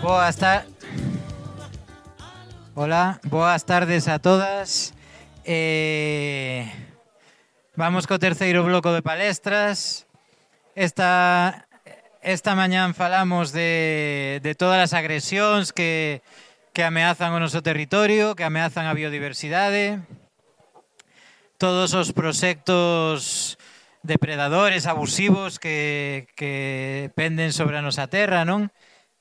Boas ta... Hola, boas tardes a todas. Vamos co terceiro bloco de palestras. Esta mañán falamos de todas as agresións que ameazan o noso territorio, que ameazan a biodiversidade, todos os proxectos depredadores abusivos que penden sobre a nosa terra, non?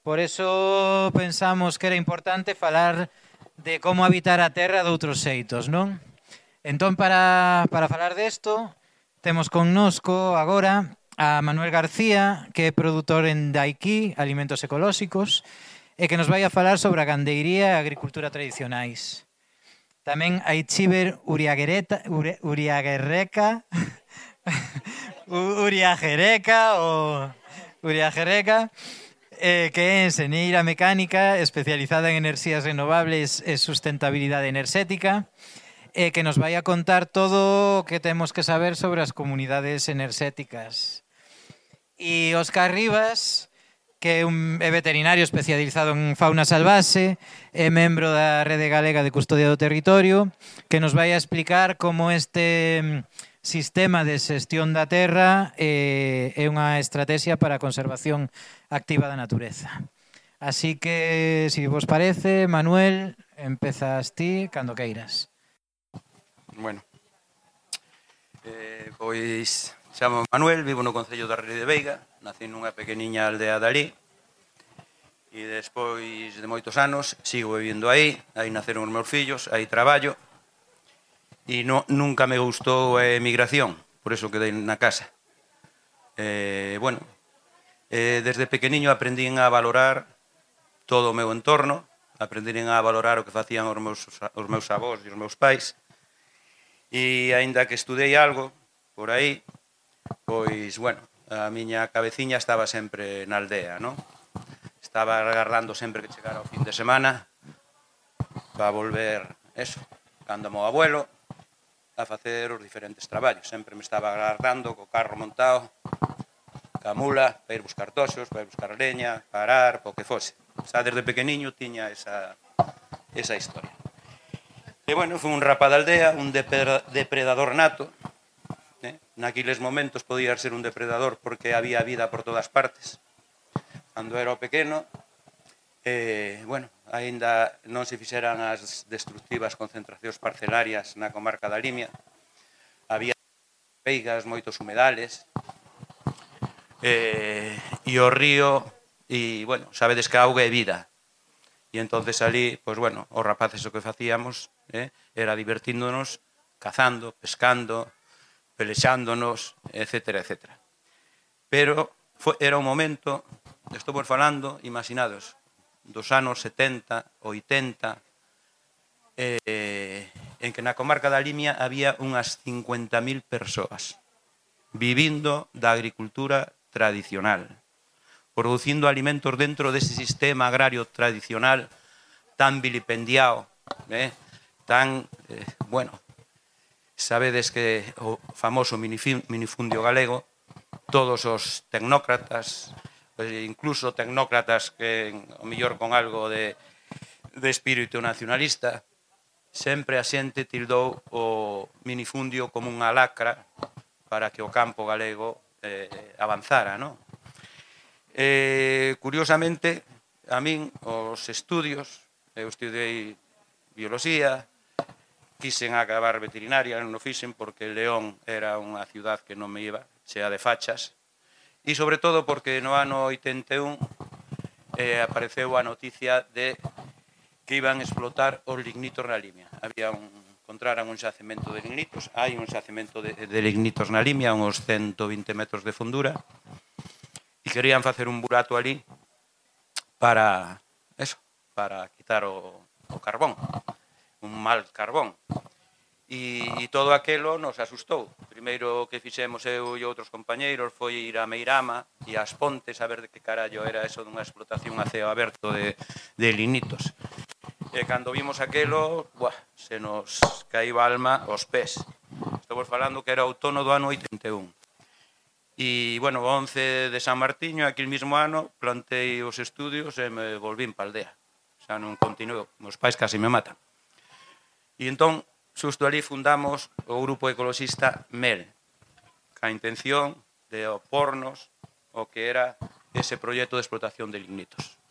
Por eso pensamos que era importante falar de como habitar a terra de outros xeitos, non? Entón, para falar desto, temos connosco agora a Manuel García, que é produtor en Daiquí, Alimentos Ecolóxicos, e que nos vai a falar sobre a gandeiría e a agricultura tradicionais. Tamén a Itziber Uriagereka, que é enxeñeira mecánica especializada en enerxías renovables e sustentabilidade enerxética, que nos vai a contar todo o que temos que saber sobre as comunidades enerxéticas. E Óscar Rivas, que é veterinario especializado en fauna salvaxe, é membro da Rede Galega de Custodia do Territorio, que nos vai a explicar como este sistema de xestión da terra é unha estrategia para a conservación activa da natureza. Así que, se vos parece, Manuel, empezas ti cando queiras. Bueno, pois chamo Manuel, vivo no concello da Ría de Veiga, nací nunha pequeniña aldea de alí e despois de moitos anos sigo vivindo aí naceron os meus fillos, aí traballo e nunca me gustou a emigración, por eso quedei na casa. Desde pequeniño aprendín a valorar todo o meu entorno, aprendín a valorar o que facían os meus avós e os meus pais, e aínda que estudei algo por aí, pois, a miña cabeciña estaba sempre na aldea, non? Estaba agardando sempre que chegara o fin de semana para volver, cando o meu abuelo, a facer os diferentes traballos. Sempre me estaba agardando co carro montado, ca mula, para ir buscar toxos, para ir buscar leña, parar, po que fose. Xa desde pequeniño tiña esa historia. E, fui un rapaz da aldea, un depredador nato. Naquiles momentos podía ser un depredador porque había vida por todas partes. Cando era pequeno, aínda non se fixeran as destructivas concentracións parcelarias na comarca da Limia. Había veigas, moitos humedales, e o río, sabedes que a auga é vida. E entonces ali, os rapaces o que facíamos era divertíndonos, cazando, pescando, pelexándonos, etcétera, etcétera. Pero era un momento, estou falando, imaginados, dos anos 70, 80, en que na comarca da Limia había unhas 50.000 persoas vivindo da agricultura tradicional, producindo alimentos dentro dese sistema agrario tradicional tan vilipendiado, sabedes que o famoso minifundio galego, todos os tecnócratas, incluso tecnócratas que, ao mellor con algo de espírito nacionalista, sempre a xente tildou o minifundio como unha lacra para que o campo galego avanzara, non? Curiosamente, a min, os estudios, eu estudei bioloxía, quixen acabar veterinaria, non o fixen porque León era unha ciudad que non me iba, chea de fachas, e sobre todo porque no ano 81 apareceu a noticia de que iban a explotar os lignitos na Limia. Encontraran un xacemento de lignitos, hai un xacemento de lignitos na Limia, uns 120 metros de fondura, e querían facer un burato ali para quitar o carbón, un mal carbón. E todo aquelo nos asustou. Primeiro que fixemos eu e outros compañeiros foi ir a Meirama e ás Pontes a ver de que carallo era eso dunha explotación a ceo aberto de lignitos. E cando vimos aquelo, se nos caíba a alma aos pés. Estamos falando que era outono do ano 81. E, bueno, o 11 de San Martiño, aquel mismo ano, plantei os estudios e me volvín pa aldea. Xa non continuo, meus pais casi me matan. E entón, xusto ali fundamos o grupo ecoloxista MEL, ca intención de opornos o que era ese proxecto de explotación de lignitos.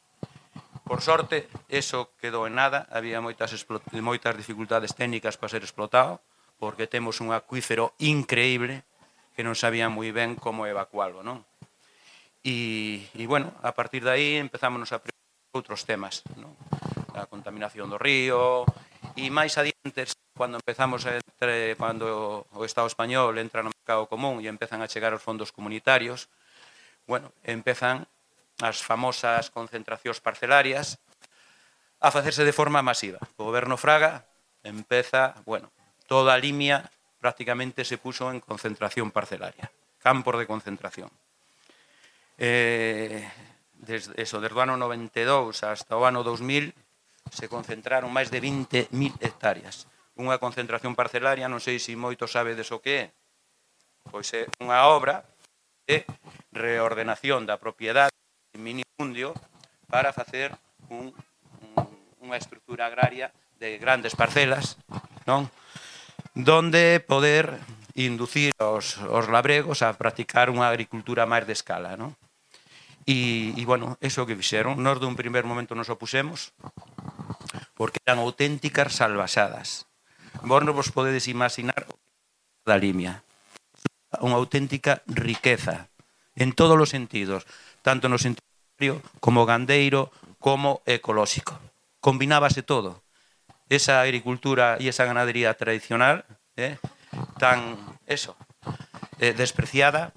Por sorte, eso quedou en nada, había moitas dificultades técnicas para ser explotado, porque temos un acuífero increíble que non sabía moi ben como evacualo, non? E bueno, a partir de aí empezámonos a preocupar outros temas, non? A contaminación do río, e máis adiante, cando empezamos cando o Estado español entra no mercado común e empezan a chegar os fondos comunitarios, bueno, empezan as famosas concentracións parcelarias a facerse de forma masiva. O goberno Fraga empeza, bueno, toda a Limia prácticamente se puso en concentración parcelaria, campos de concentración. Desde o ano 92 hasta o ano 2000 se concentraron máis de 20.000 hectáreas. Unha concentración parcelaria, non sei se moito sabedes o que é, pois é unha obra de reordenación da propiedade en minifundio para facer unha estrutura agraria de grandes parcelas, non? Donde poder inducir os labregos a practicar unha agricultura máis de escala, non? E, bueno, eso que fixeron, nós dun primer momento nos opusemos, porque eran auténticas salvaxadas. Vos non vos podedes imaginar da Limia. Unha auténtica riqueza, en todos os sentidos, tanto no sentido como gandeiro, como ecolóxico. Combinábase todo. Esa agricultura e esa ganadería tradicional, tan, despreciada,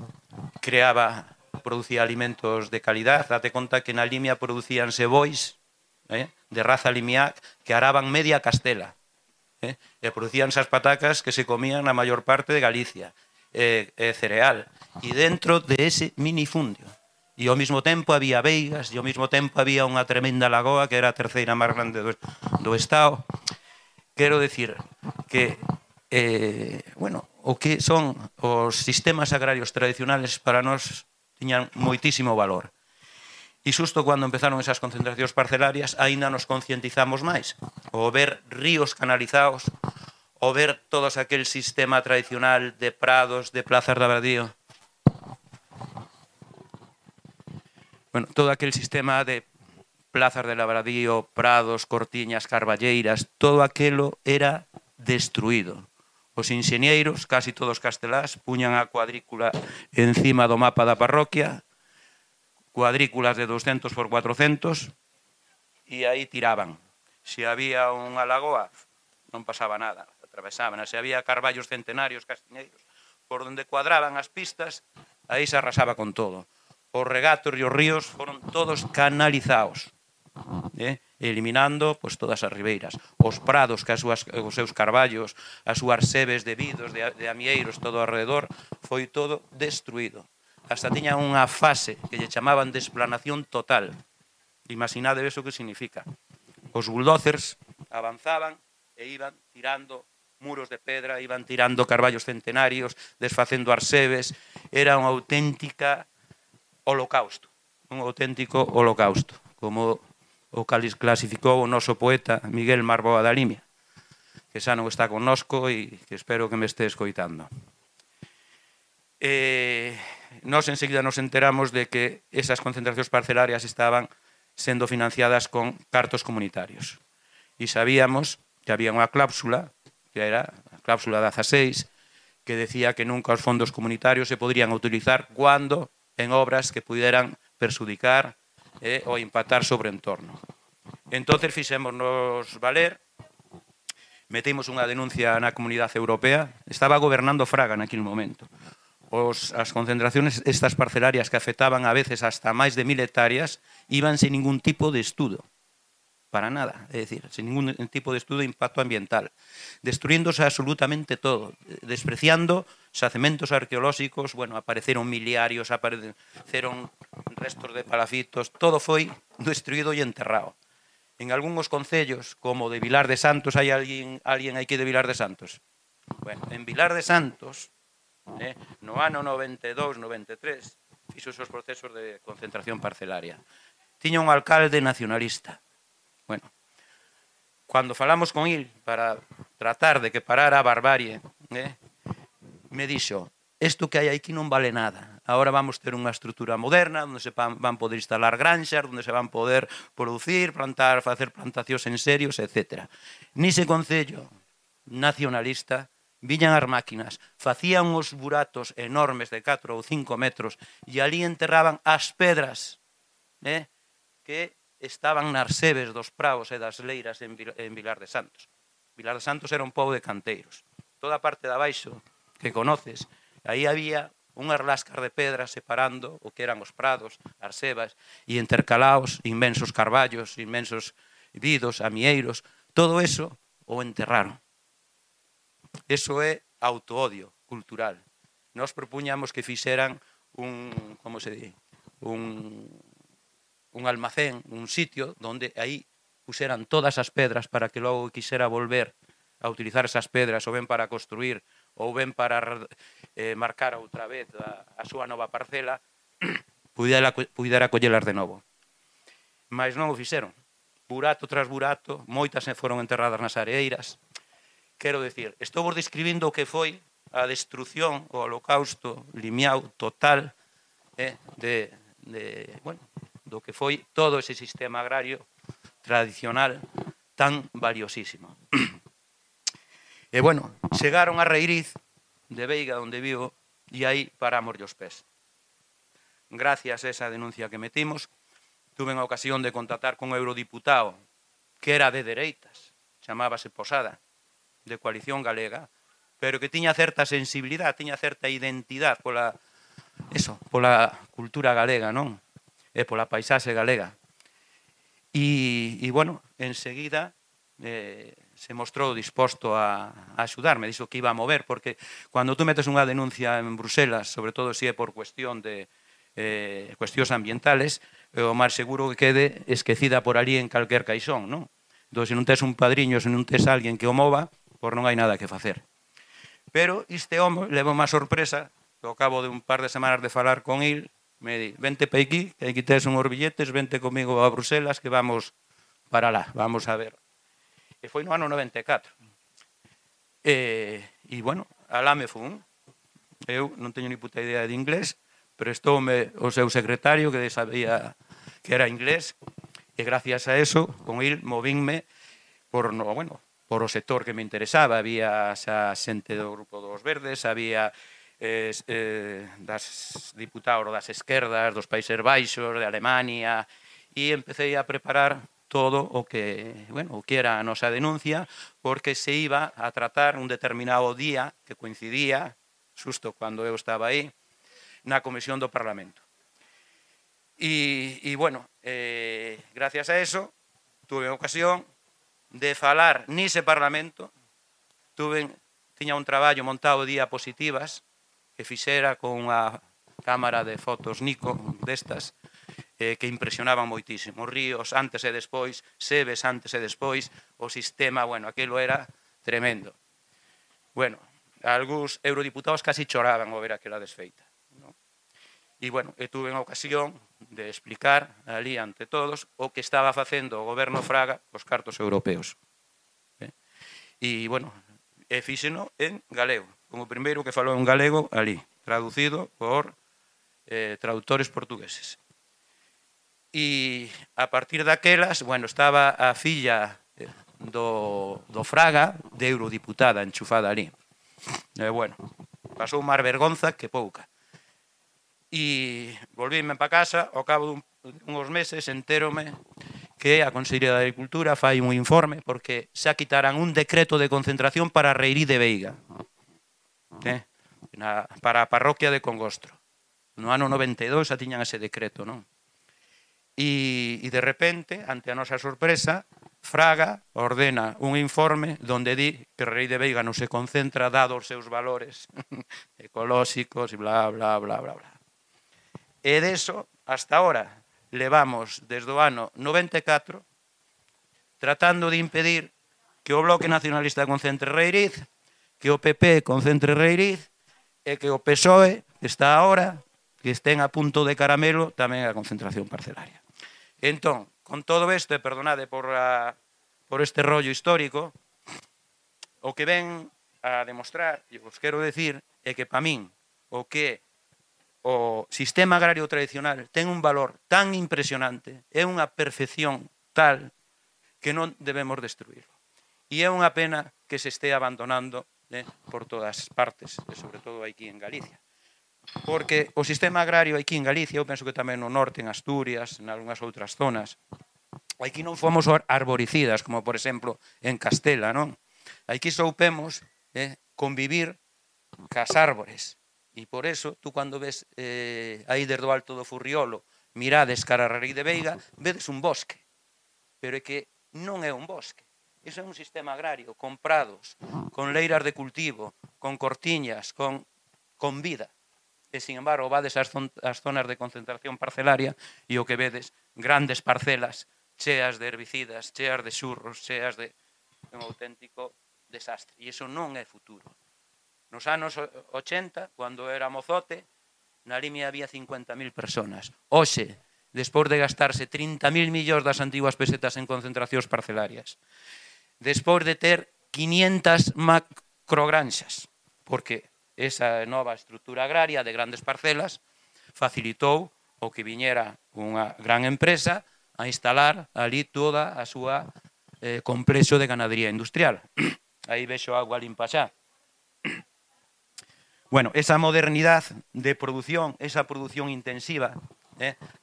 producía alimentos de calidad. Date conta que na Limia producíanse bois de raza limiac que araban media Castela. E producíanse as patacas que se comían na maior parte de Galicia, cereal, e dentro de ese minifundio. E ao mesmo tempo había veigas, e ao mesmo tempo había unha tremenda lagoa que era a terceira máis grande do Estado. Quero dicir que, bueno, o que son os sistemas agrarios tradicionales para nós tiñan moitísimo valor. E xusto cando empezaron esas concentracións parcelarias, aínda nos concientizamos máis. O ver ríos canalizados, o ver todo aquel sistema tradicional de prados, de plazas de abradío. Bueno, todo aquel sistema de plazas de labradío, prados, cortiñas, carballeiras, todo aquelo era destruído. Os enxeñeiros, casi todos castelás, puñan a cuadrícula encima do mapa da parroquia, cuadrículas de 200 por 400, e aí tiraban. Se había unha lagoa, non pasaba nada, atravesaban. Se había carballos centenarios, castiñeiros, por onde cuadraban as pistas, aí se arrasaba con todo. Os regatos e os ríos foron todos canalizados, eliminando todas as ribeiras. Os prados, que os seus carballos, as súas sebes de vidos, de amieiros, todo alrededor, foi todo destruído. Hasta tiña unha fase que lle chamaban de esplanación total. Imaginade eso que significa. Os bulldozers avanzaban e iban tirando muros de pedra, iban tirando carballos centenarios, desfacendo arsebes. Era unha auténtica holocausto, un auténtico holocausto, como o clasificou o noso poeta Miguel Marboa da Limia, que xa non está connosco e que espero que me este escoitando. Nós enseguida nos enteramos de que esas concentracións parcelarias estaban sendo financiadas con cartos comunitarios. E sabíamos que había unha cláusula, que era a cláusula 16, que decía que nunca os fondos comunitarios se podrían utilizar cuando en obras que pudieran perjudicar ou impactar sobre o entorno. Entón, fixémonos valer, metimos unha denuncia na Comunidade Europea, estaba gobernando Fraga naquele momento. As concentracións estas parcelarias que afectaban a veces hasta máis de 1000 hectáreas iban sin ningún tipo de estudo, para nada, é dicir, sin ningún tipo de estudo de impacto ambiental, destruíndose absolutamente todo, despreciando xacementos arqueolóxicos, bueno, apareceron miliarios, apareceron restos de palafitos, todo foi destruído e enterrado. En algúns concellos, como de Vilar de Santos, hai alguén aquí de Vilar de Santos? Bueno, en Vilar de Santos No ano 92, 93, fixo os procesos de concentración parcelaria. Tiña un alcalde nacionalista. Bueno, cando falamos con il para tratar de que parara a barbarie, me dixo, isto que hai aquí non vale nada. Agora vamos ter unha estrutura moderna onde se van poder instalar granxas, onde se van poder producir, plantar, facer plantacións en serios, etc. Nise concello nacionalista viñan as máquinas, facían uns buratos enormes de 4 ou 5 metros e ali enterraban as pedras que estaban nas sebes dos praos e das leiras en Vilar de Santos. Vilar de Santos era un pobo de canteiros. Toda a parte de abaixo que conoces, aí había unhas lascas de pedra separando o que eran os prados, as sebas, e intercalaos inmensos carballos, inmensos vidos, amieiros, todo eso o enterraron. Eso é autoodio cultural. Nos propuñamos que fixeran un almacén, un sitio onde aí puseran todas as pedras para que logo quixera volver a utilizar esas pedras ou ben para construir ou ben para marcar outra vez a súa nova parcela, pudera collelas de novo. Mas non o fixeron. Burato tras burato, moitas foron enterradas nas areiras. Quero dicir, estou vos describindo o que foi a destrucción, o holocausto limiao total do que foi todo ese sistema agrario tradicional tan valiosísimo. E, bueno, chegaron a Reiriz de Veiga, onde vivo, e aí paramos os pés. Gracias a esa denuncia que metimos, tuve a ocasión de contactar con un eurodiputado que era de dereitas, chamábase Posada, de Coalición Galega, pero que tiña certa sensibilidade, tiña certa identidade pola cultura galega, non? E pola paisaxe galega. E bueno, enseguida se mostrou disposto a axudarme, dixo que iba a mover, porque cando tú metes unha denuncia en Bruselas, sobre todo se é por cuestión de cuestións ambientales, o máis seguro que quede esquecida por ali en calquer caixón, non? Entón, se non tes un padriño, se non tes alguén que o mova, pois non hai nada que facer. Pero este home levou má sorpresa, que ao cabo de un par de semanas de falar con il, me di, vente pa aquí, que aquí tes unhos billetes, vente comigo a Bruselas, que vamos para lá, vamos a ver. E foi no ano 94. E, bueno, alá me fun. Eu non teño ni puta idea de inglés, prestoume o seu secretario, que sabía que era inglés, e gracias a eso, con il, movínme por o sector que me interesaba. Había xa xente do Grupo dos Verdes, había das diputados das esquerdas, dos Países Baixos, de Alemania, e empecé a preparar todo o que era a nosa denuncia, porque se iba a tratar un determinado día que coincidía, xusto cando eu estaba aí, na Comisión do Parlamento. E gracias a eso, tuve ocasión de falar nese Parlamento, tiña un traballo montado de diapositivas que fixera con unha cámara de fotos Nikon destas, que impresionaban moitísimo. Ríos antes e despois, sebes antes e despois, o sistema, aquilo era tremendo. Algúns eurodiputados casi choraban ao ver aquela desfeita. E, tuve a ocasión de explicar ali ante todos o que estaba facendo o goberno Fraga cos cartos europeos. E, fíxeno en galego, como primeiro que falou en galego ali, traducido por traductores portugueses. E a partir daquelas, estaba a filla do Fraga de eurodiputada enchufada ali. Pasou máis vergonza que pouca. E volvíme para casa, ao cabo uns meses entérome que a Consellería de Agricultura fai un informe porque xa quitaran un decreto de concentración para Reirí de Veiga, para a parroquia de Congostro. No ano 92 xa tiñan ese decreto, non? E de repente, ante a nosa sorpresa, Fraga ordena un informe donde di que Reirí de Veiga non se concentra dado os seus valores ecolóxicos e bla, bla, bla, bla, bla. E deso, hasta ahora, levamos desde o ano 94 tratando de impedir que o Bloque Nacionalista concentre Reiriz, que o PP concentre Reiriz, e que o PSOE está ahora, que estén a punto de caramelo, tamén a concentración parcelaria. Entón, con todo isto, e perdonade por este rollo histórico, o que ven a demostrar, e vos quero decir, é que para min o que o sistema agrario tradicional ten un valor tan impresionante, é unha perfección tal que non debemos destruirlo. E é unha pena que se este abandonando por todas partes, e sobre todo aquí en Galicia. Porque o sistema agrario aquí en Galicia, eu penso que tamén no norte, en Asturias, en algunhas outras zonas, aquí non fomos arboricidas, como por exemplo en Castela, non? Aquí soupemos convivir cas árbores. E por eso, tú cando ves aí desde o alto do Furriolo, mirades cara a Rei de Veiga, vedes un bosque. Pero é que non é un bosque. Iso é un sistema agrario, con prados, con leiras de cultivo, con cortiñas, con vida. E, sin embargo, vades ás zonas de concentración parcelaria e o que vedes, grandes parcelas cheas de herbicidas, cheas de xurros, cheas de un auténtico desastre. E iso non é futuro. Nos anos 80, cando era mozote, na Limia había 50.000 personas. Hoxe, despois de gastarse 30.000 millóns das antiguas pesetas en concentracións parcelarias, despois de ter 500 macrogranxas, porque esa nova estrutura agraria de grandes parcelas facilitou o que viñera unha gran empresa a instalar ali toda a súa complexo de ganadería industrial. Aí vexo agua limpa xa. Bueno, esa modernidade de produción, esa produción intensiva,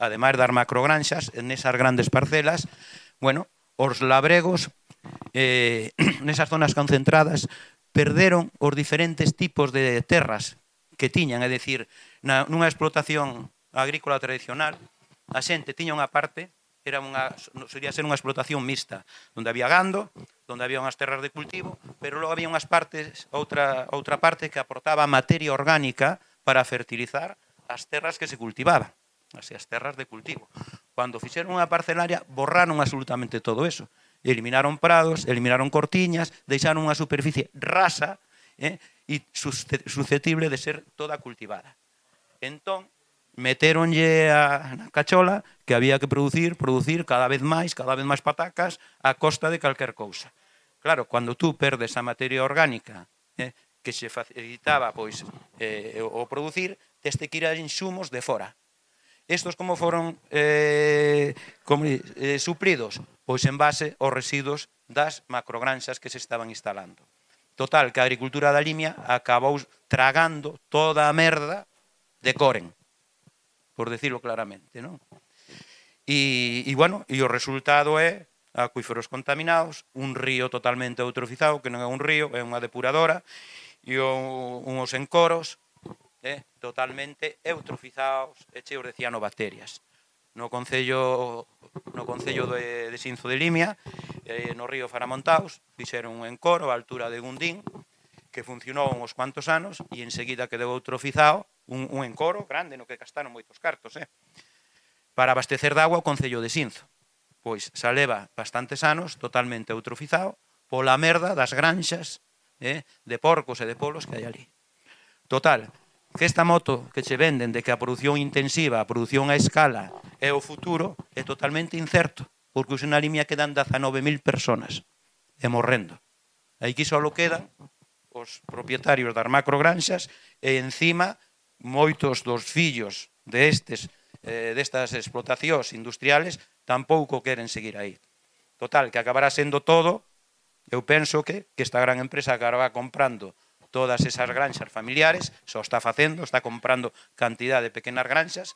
ademais das macrogranxas, nesas grandes parcelas, bueno, os labregos, nesas zonas concentradas, perderon os diferentes tipos de terras que tiñan, é dicir, nunha explotación agrícola tradicional, a xente tiña unha parte, solía ser unha explotación mixta, onde había gando, onde había unhas terras de cultivo, pero logo había unhas partes, outra parte que aportaba materia orgánica para fertilizar as terras que se cultivaban, as terras de cultivo. Cando fixeron unha parcelaria, borraron absolutamente todo eso. Eliminaron prados, eliminaron cortiñas, deixaron unha superficie rasa e susceptible de ser toda cultivada. Entón, meteronlle na cachola que había que producir cada vez máis patacas a costa de calquer cousa. Claro, cando tú perdes a materia orgánica que se facilitaba o producir, teste que ir a insumos de fora. Estos como foron suplidos? Pois en base aos residuos das macrogranxas que se estaban instalando. Total, que a agricultura da Limia acabou tragando toda a merda de Coren, por decirlo claramente, non? E o resultado é acuíferos contaminados, un río totalmente eutrofizado, que non é un río, é unha depuradora, e uns encoros totalmente eutrofizados e cheos de cianobacterias. No Concello de Xinzo de Limia, no río Faramontaos, fixeron un encoro á altura de Gundín, que funcionou uns cuantos anos e enseguida quedou eutrofizado, un encoro grande no que gastaron moitos cartos, para abastecer de agua o Concello de Xinzo. Pois xa leva bastantes anos totalmente eutrofizado pola merda das granxas de porcos e de polos que hai ali. Total, que esta moto que che venden de que a produción intensiva, a produción a escala é o futuro, é totalmente incerto, porque na Limia quedan 19.000 personas e morrendo. Aquí só quedan os propietarios das macrogranxas e encima moitos dos fillos destas explotacións industriales tampouco queren seguir aí. Total, que acabará sendo todo, eu penso que esta gran empresa acabará comprando todas esas granxas familiares, só está facendo, está comprando cantidad de pequenas granxas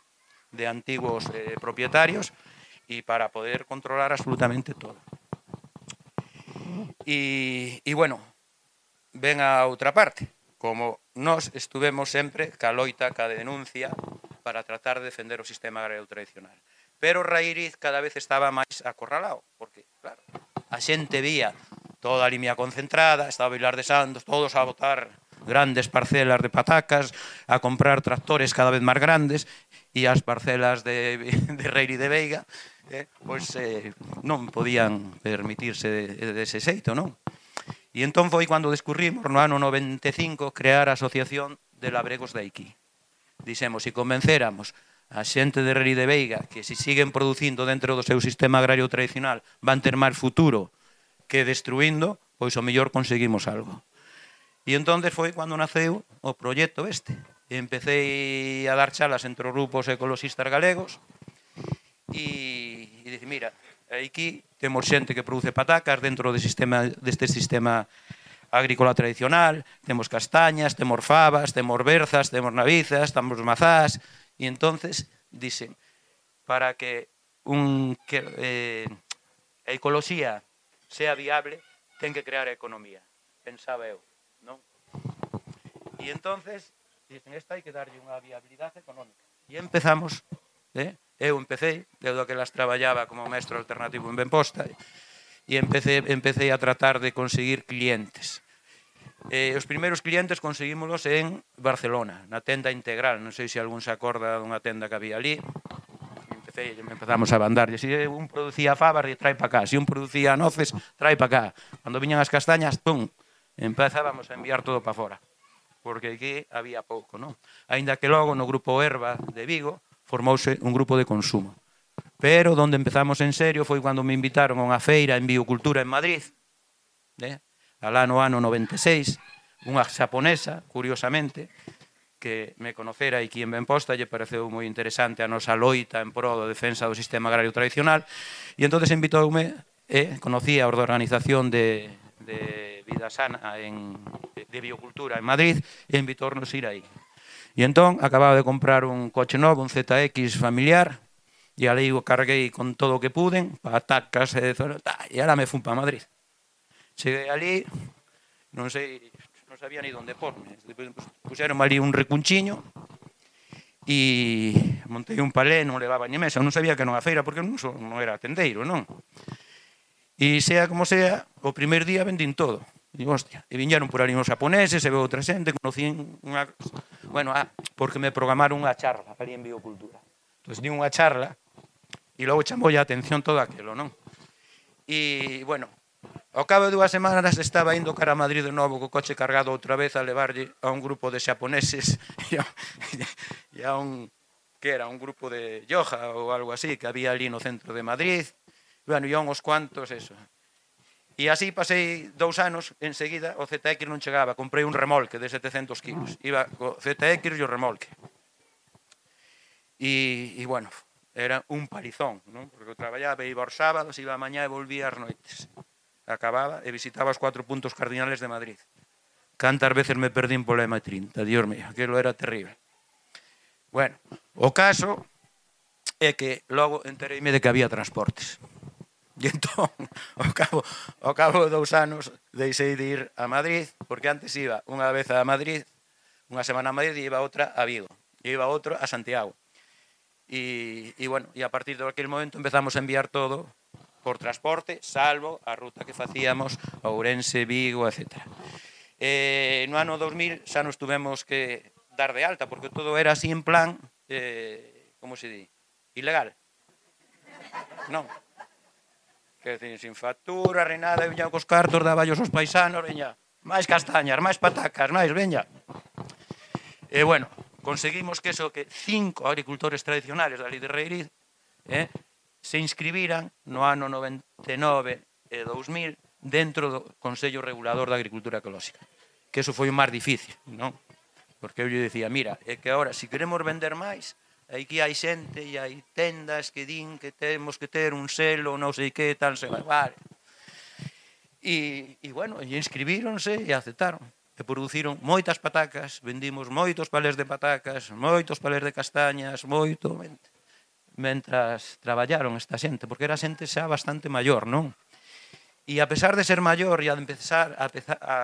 de antigos propietarios e para poder controlar absolutamente todo. E bueno, ven a outra parte, como nós estuvemos sempre ca loita, ca denuncia para tratar de defender o sistema agrario tradicional. Pero o Raíriz cada vez estaba máis acorralado, porque, claro, a xente vía toda a Limia concentrada, estaba Vilar de Santos, todos a botar grandes parcelas de patacas, a comprar tractores cada vez máis grandes, e as parcelas de Reiri de Veiga non podían permitirse dese xeito, non? E entón foi cando descurrimos no ano 95 crear a Asociación de labregos de aquí. Dixemos, se convencéramos a xente de Reri de Veiga que se siguen producindo dentro do seu sistema agrario tradicional van ter máis futuro que destruindo, pois o mellor conseguimos algo. E entonces foi cando naceu o proxecto este. Empecé a dar chalas entre os grupos ecologistas galegos e dicir, mira, aquí temos xente que produce patacas dentro deste sistema agrícola tradicional, temos castañas, temos fabas, temos berzas, temos navizas, temos mazás, e entonces dicen, para que a ecoloxía sea viable, ten que crear a economía, pensaba eu, non? E entonces, dicen, esta hai que darlle unha viabilidade económica. E empezamos, eu daquelas traballaba como mestre alternativo en Benposta, e empecé a tratar de conseguir clientes. Os primeiros clientes conseguímolos en Barcelona, na tenda Integral. Non sei se algún se acorda dunha tenda que había ali. Empezamos a bandarlle. Se un producía fabas, trae para cá. Se un producía noces, trae para cá. Cando viñan as castañas, pum, empezábamos a enviar todo para fora. Porque aquí había pouco, non? Aínda que logo no grupo Herba de Vigo formouse un grupo de consumo. Pero onde empezamos en serio foi cando me invitaron a unha feira en biocultura en Madrid, alá no ano 96, unha xaponesa, curiosamente, que me conocera aquí en Benposta, lle pareceu moi interesante a nosa loita en pro da defensa do sistema agrario tradicional, e entonces invitoume, conocía a organización de Vida Sana, de biocultura en Madrid, e invitornos a ir aí. E entón, acababa de comprar un coche novo, un ZX familiar, e ali o carguei con todo o que puden, patacas, e ahora me fun para Madrid. Cheguei ali, non sabía ni onde porme. Puxeron ali un recunchiño e montei un palé, non levaba ni mesa, non sabía que non a feira, porque non era tendeiro, non? E sea como sea, o primer día vendín todo. Digo, hostia, e viñeron por ali uns japoneses, e veo outra xente, conocín unha... Bueno, porque me programaron unha charla ali en biocultura. Entón, di unha charla, e logo chamou a atención todo aquilo, non? E, bueno, ao cabo de 2 semanas estaba indo cara a Madrid de novo co coche cargado outra vez a levarlle a un grupo de xaponeses e a un que era un grupo de yoga ou algo así que había ali no centro de Madrid. Bueno, e a uns cuantos, eso. E así pasei 2 anos, enseguida o ZX non chegaba, comprei un remolque de 700 kilos. Iba co ZX e o remolque. E bueno, era un palizón, non? Porque eu traballaba, iba aos sábados, iba a mañá e volvía ás noites. Acababa e visitaba os 4 puntos cardinales de Madrid. Cantas veces me perdín pola M30, Dios mío, aquilo era terrible. Bueno, o caso é que logo entereime de que había transportes. E entón, ao cabo de 2 anos, deixei de ir a Madrid, porque antes iba unha vez a Madrid, unha semana a Madrid, e iba outra a Vigo, e iba outro a Santiago. E bueno, e a partir de aquel momento empezamos a enviar todo por transporte, salvo a ruta que facíamos a Ourense, Vigo, etc. No ano 2000 xa nos tuvemos que dar de alta, porque todo era así en plan, como se di, ilegal. Non. Que decir, sin factura, reinada, viña cos cartos, daballos aos paisanos, veña, máis castañas, máis patacas, máis, veña. E bueno, conseguimos que 5 agricultores tradicionales da Lei de Reiriz se inscribiran no ano 99 e 2000 dentro do Consello Regulador da Agricultura Ecolóxica. Que eso foi o máis difícil, non? Porque eu lle dicía, mira, é que agora, se queremos vender máis, aquí hai xente e hai tendas que din que temos que ter un selo, non sei que, tal, se vai. E bueno, e inscribíronse e aceptaron. E produciron moitas patacas, vendimos moitos palés de patacas, moitos palés de castañas, moito, mentras traballaron esta xente, porque era xente xa bastante maior, non? E a pesar de ser maior e a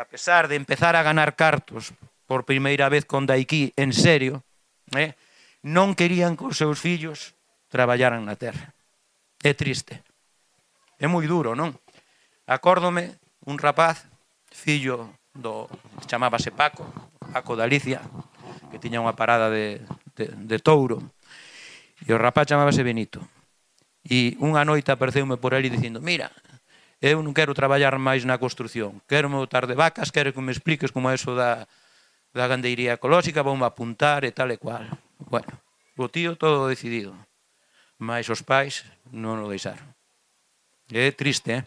pesar de empezar a ganar cartos por primeira vez con Daiki en serio, non querían que os seus fillos traballaran na terra. É triste. É moi duro, non? Acórdome un rapaz, fillo chamábase Paco de Alicia, que tiña unha parada de touro, e o rapaz chamábase Benito. E unha noite apareceume por ali dicindo, mira, eu non quero traballar máis na construcción, quero me botar de vacas, quero que me expliques como é eso da da gandeiría ecolóxica, vou apuntar e tal e cual. Bueno, o tío todo decidido, mas os pais non o deixaron. É triste,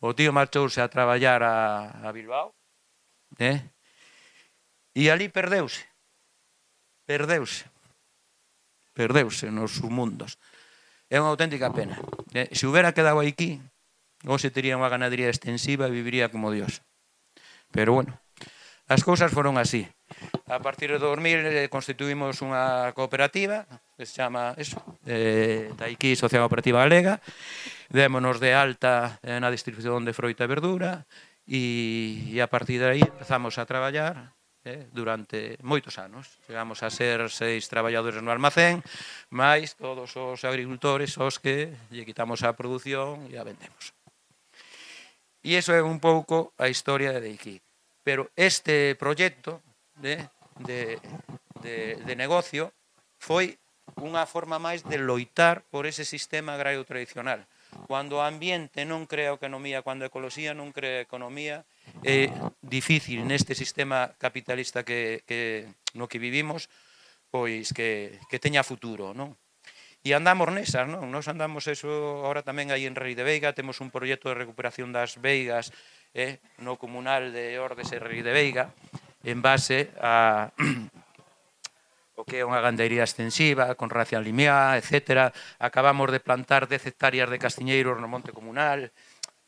O tío marchouse a traballar a Bilbao, e ali perdeuse nos submundos. É unha auténtica pena. Se houbera quedado aquí, hoxe tería unha ganadería extensiva e viviría como Dios. Pero bueno, as cousas foron así. A partir de 2000 constituímos unha cooperativa que se chama Taiki Sociedade Cooperativa Galega. Démonos de alta na distribución de froita e verdura e a partir de aí empezamos a traballar durante moitos anos. Chegamos a ser 6 traballadores no almacén, máis todos os agricultores aos que lle quitamos a produción e a vendemos. E iso é un pouco a historia de Deiki. Pero este proxecto de negocio foi unha forma máis de loitar por ese sistema agrario tradicional. Cando o ambiente non crea economía, cando a ecoloxía non crea economía, é difícil neste sistema capitalista no que vivimos, pois que teña futuro, non? E andamos nesas, non? Nos andamos eso, ahora tamén aí en Rei de Veiga, temos un proxecto de recuperación das veigas no comunal de Ordes e Rei de Veiga, en base a o que é unha gandeiría extensiva, con ración limiá, etc. Acabamos de plantar 10 hectáreas de castiñeiros no monte comunal.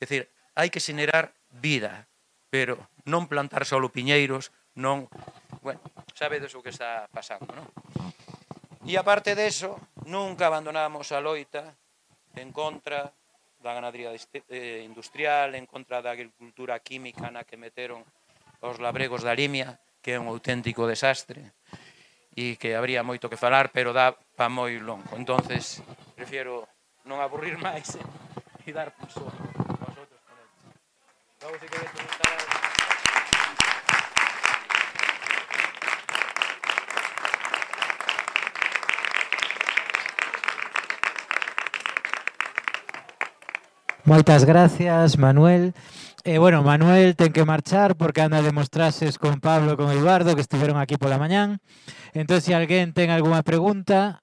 É dicir, hai que xenerar vida, pero non plantar solo piñeiros, non... Bueno, sabedes o que está pasando, non? E aparte deso, nunca abandonamos a loita en contra da ganadería industrial, en contra da agricultura química na que meteron os labregos da limia, que é un auténtico desastre, e que habría moito que falar, pero dá pa moi longo. Entonces, prefiero non aburrir máis e dar pulso aos outros ponentes. Logo, se queres preguntar... Moitas gracias, Manuel. Bueno, Manuel ten que marchar porque anda a demostrases con Pablo e con Eduardo, que estiveron aquí pola mañán. Entón, se alguén ten algunha pregunta,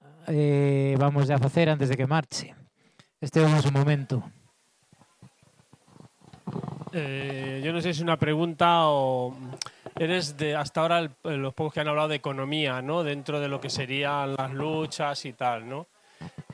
vamos a facer antes de que marche. Este é o noso momento. Yo no sé si es una pregunta o... Eres de hasta ahora los pocos que han hablado de economía, ¿no? Dentro de lo que serían las luchas y tal, ¿no?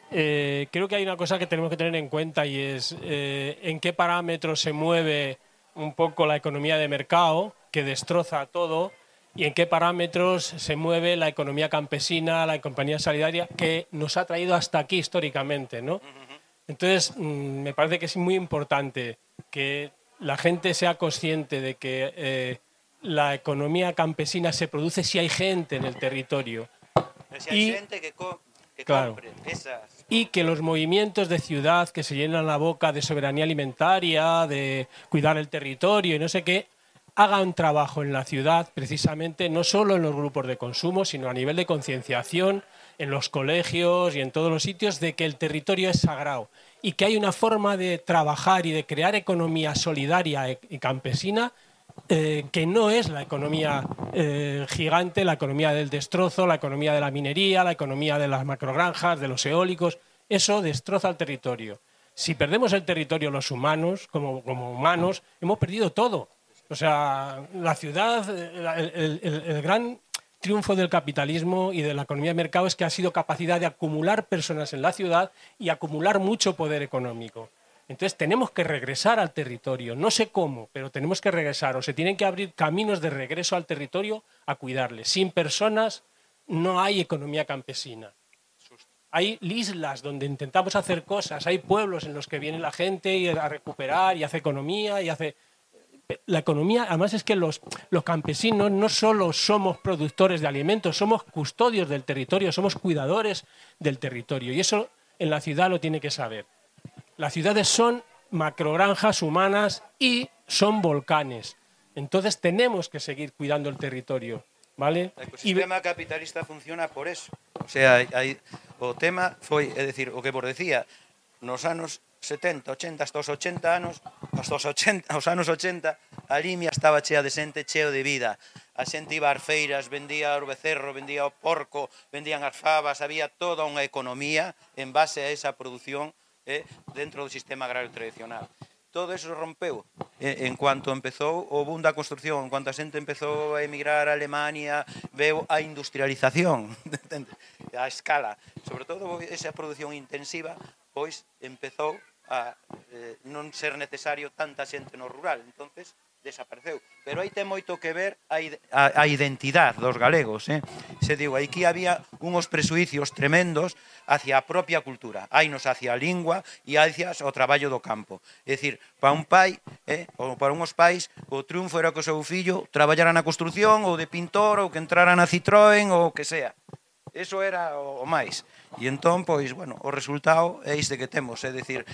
Creo que hay una cosa que tenemos que tener en cuenta y es en qué parámetros se mueve un poco la economía de mercado, que destroza todo, y en qué parámetros se mueve la economía campesina, la economía solidaria, que nos ha traído hasta aquí históricamente, ¿no? Entonces, me parece que es muy importante que la gente sea consciente de que la economía campesina se produce si hay gente en el territorio. Si hay gente que claro, compre esas... Y que los movimientos de ciudad que se llenan la boca de soberanía alimentaria, de cuidar el territorio y no sé qué, hagan trabajo en la ciudad precisamente, no solo en los grupos de consumo, sino a nivel de concienciación, en los colegios y en todos los sitios, de que el territorio es sagrado y que hay una forma de trabajar y de crear economía solidaria y campesina que no es la economía gigante, la economía del destrozo, la economía de la minería, la economía de las macrogranjas, de los eólicos. Eso destroza el territorio. Si perdemos el territorio los humanos, como humanos, hemos perdido todo. O sea, la ciudad, el gran triunfo del capitalismo y de la economía de mercado es que ha sido capacidad de acumular personas en la ciudad y acumular mucho poder económico. Entonces tenemos que regresar al territorio, no sé cómo, pero tenemos que regresar, o se tienen que abrir caminos de regreso al territorio a cuidarle. Sin personas no hay economía campesina. Hay islas donde intentamos hacer cosas, hay pueblos en los que viene la gente a recuperar y hace economía y hace... La economía, además es que los campesinos no solo somos productores de alimentos, somos custodios del territorio, somos cuidadores del territorio y eso en la ciudad lo tiene que saber. Las ciudades son macrogranjas humanas y son volcanes. Entonces tenemos que seguir cuidando el territorio, ¿vale? O ecosistema capitalista funciona por eso. O sea, o tema foi, é dicir, o que vos decía, nos anos 70, 80, hasta os 80 anos, aos anos 80, a Limia estaba chea de xente, cheo de vida. A xente iba ás feiras, vendía o becerro, vendía o porco, vendían as fabas, había toda unha economía en base a esa produción dentro do sistema agrario tradicional. Todo eso rompeu en cuanto empezou o boom da construcción, en cuanto a xente empezou a emigrar a Alemania, veu a industrialización, a escala, sobre todo esa produción intensiva, pois empezou a non ser necesario tanta xente no rural, entonces desapareceu. Pero aí ten moito que ver a identidade dos galegos. Se digo, aquí había unos presuicios tremendos hacia a propia cultura, hainos hacia a lingua e hacia o traballo do campo. É dicir, para un pai, ou para unhos pais, o triunfo era que o seu fillo traballara na construcción, ou de pintor, ou que entrara na Citroën, ou o que sea. Eso era o máis. E entón, pois, bueno, o resultado é este que temos. É dicir,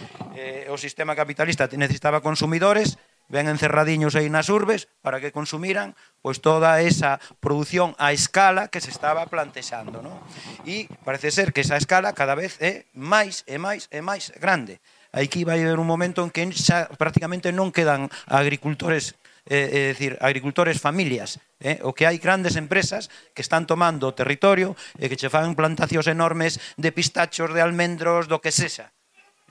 o sistema capitalista necesitaba consumidores, ven encerradiños aí nas urbes para que consumiran pois toda esa produción a escala que se estaba plantexando, non? E parece ser que esa escala cada vez é máis e máis e máis grande. Aquí vai haber un momento en que xa prácticamente non quedan agricultores, é dicir, agricultores familias, o que hai grandes empresas que están tomando o territorio e que che fan plantacións enormes de pistachos, de almendros, do que sexa.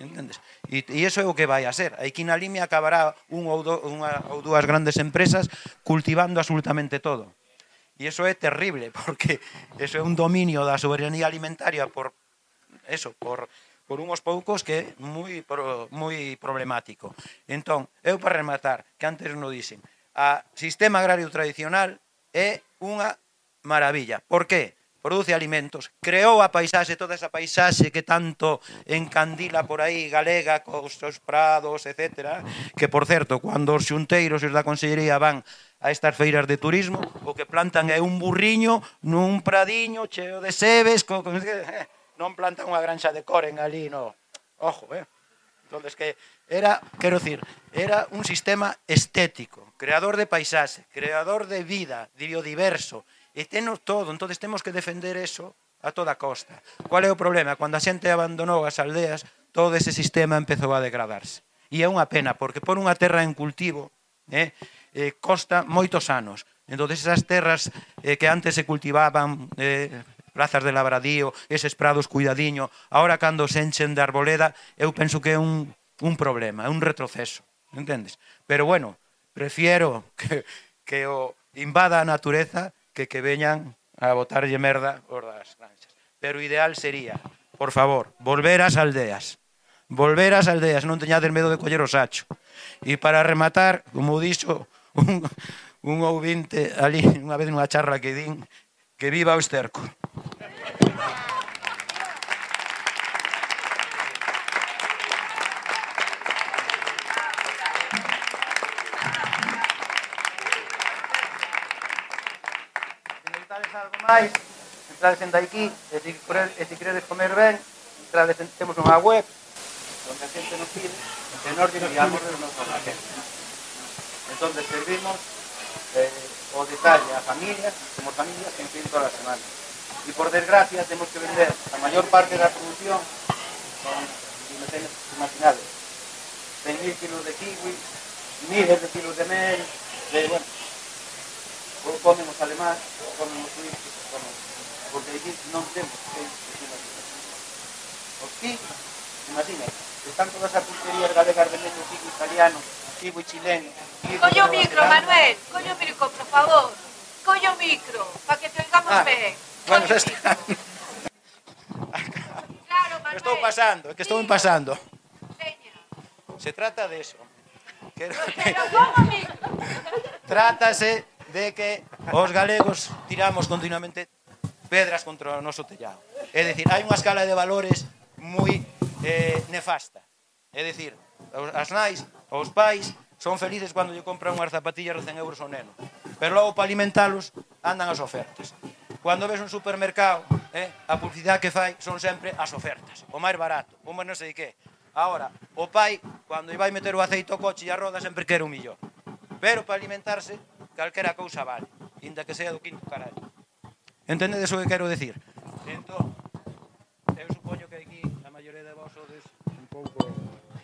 Entendes? E iso é o que vai a ser. Aquí na Limia acabará unha ou dúas grandes empresas cultivando absolutamente todo. E iso é terrible, porque iso é un dominio da soberanía alimentaria por unhos poucos que é moi problemático. Entón, eu para rematar, que antes non dixen, o sistema agrario tradicional é unha maravilla. Por que? Produce alimentos, creou a paisaxe, toda esa paisaxe que tanto encandila por aí galega, cos seus prados, etc. Que, por certo, cando os xunteiros e os da Consellería van a estas feiras de turismo, o que plantan é un burriño nun pradiño cheo de sebes, non plantan unha granxa de coren ali, no. Ojo, Entonces, que era, quero dicir, era un sistema estético, creador de paisaxe, creador de vida, biodiverso, e tenos todo, entón temos que defender eso a toda costa. Qual é o problema? Cando a xente abandonou as aldeas, todo ese sistema empezou a degradarse. E é unha pena, porque por unha terra en cultivo costa moitos anos. Entón, esas terras que antes se cultivaban, plazas de labradío, eses prados cuidadiño, ahora cando se enchen de arboleda, eu penso que é un problema, é un retroceso, entendes? Pero bueno, prefiero que o invada a natureza que veñan a botarlle merda os das granxas. Pero o ideal sería, por favor, volver ás aldeas. Volver ás aldeas, non teñades medo de coller o sacho. E para rematar, como dixo un ouvinte ali, unha vez nunha charla que din, que viva o esterco. Algo máis, entrades en aquí, e se queredes comer ben, entrades temos unha web onde a xente nos pide e nos enviamos os nosos raquetes. Entón, servimos o detalle a familias, como familias que enfían todas as semanas. E por desgracia temos que vender a maior parte da producción con, imaginades, 100.000 kilos de kiwi, miles de kilos de mel, bueno, ou comen os alemás, ou comen os suizos, porque aquí non temos que os kiwis, imagina, están todas as pulquerías galegas vendendo kiwi italiano, kiwi chileno. Colle o micro, Manuel, colle o micro, por favor. Colle o micro, para que te oigamos ben. Bueno, xa está. Claro, Manuel. Estou pasando, é que estou pasando. Seña. Se trata de eso. Pero como o micro. Trátase de que os galegos tiramos continuamente pedras contra o noso tellado. É dicir, hai unha escala de valores moi nefasta. É dicir, as nais, os pais, son felices cando lle compran unhas zapatillas de 100 euros ao neno. Pero logo, para alimentalos, andan as ofertas. Cando ves un supermercado, a publicidade que fai son sempre as ofertas. O máis barato, o máis non sei que. Ahora, o pai, cando vai meter o aceite ao coche e a roda, sempre quere un millón. Pero para alimentarse, calquera cousa vale, inda que sea do quinto carallo. Entendedes o que quero decir? Entón, eu supoño que aquí a maioría de vos sodes pouco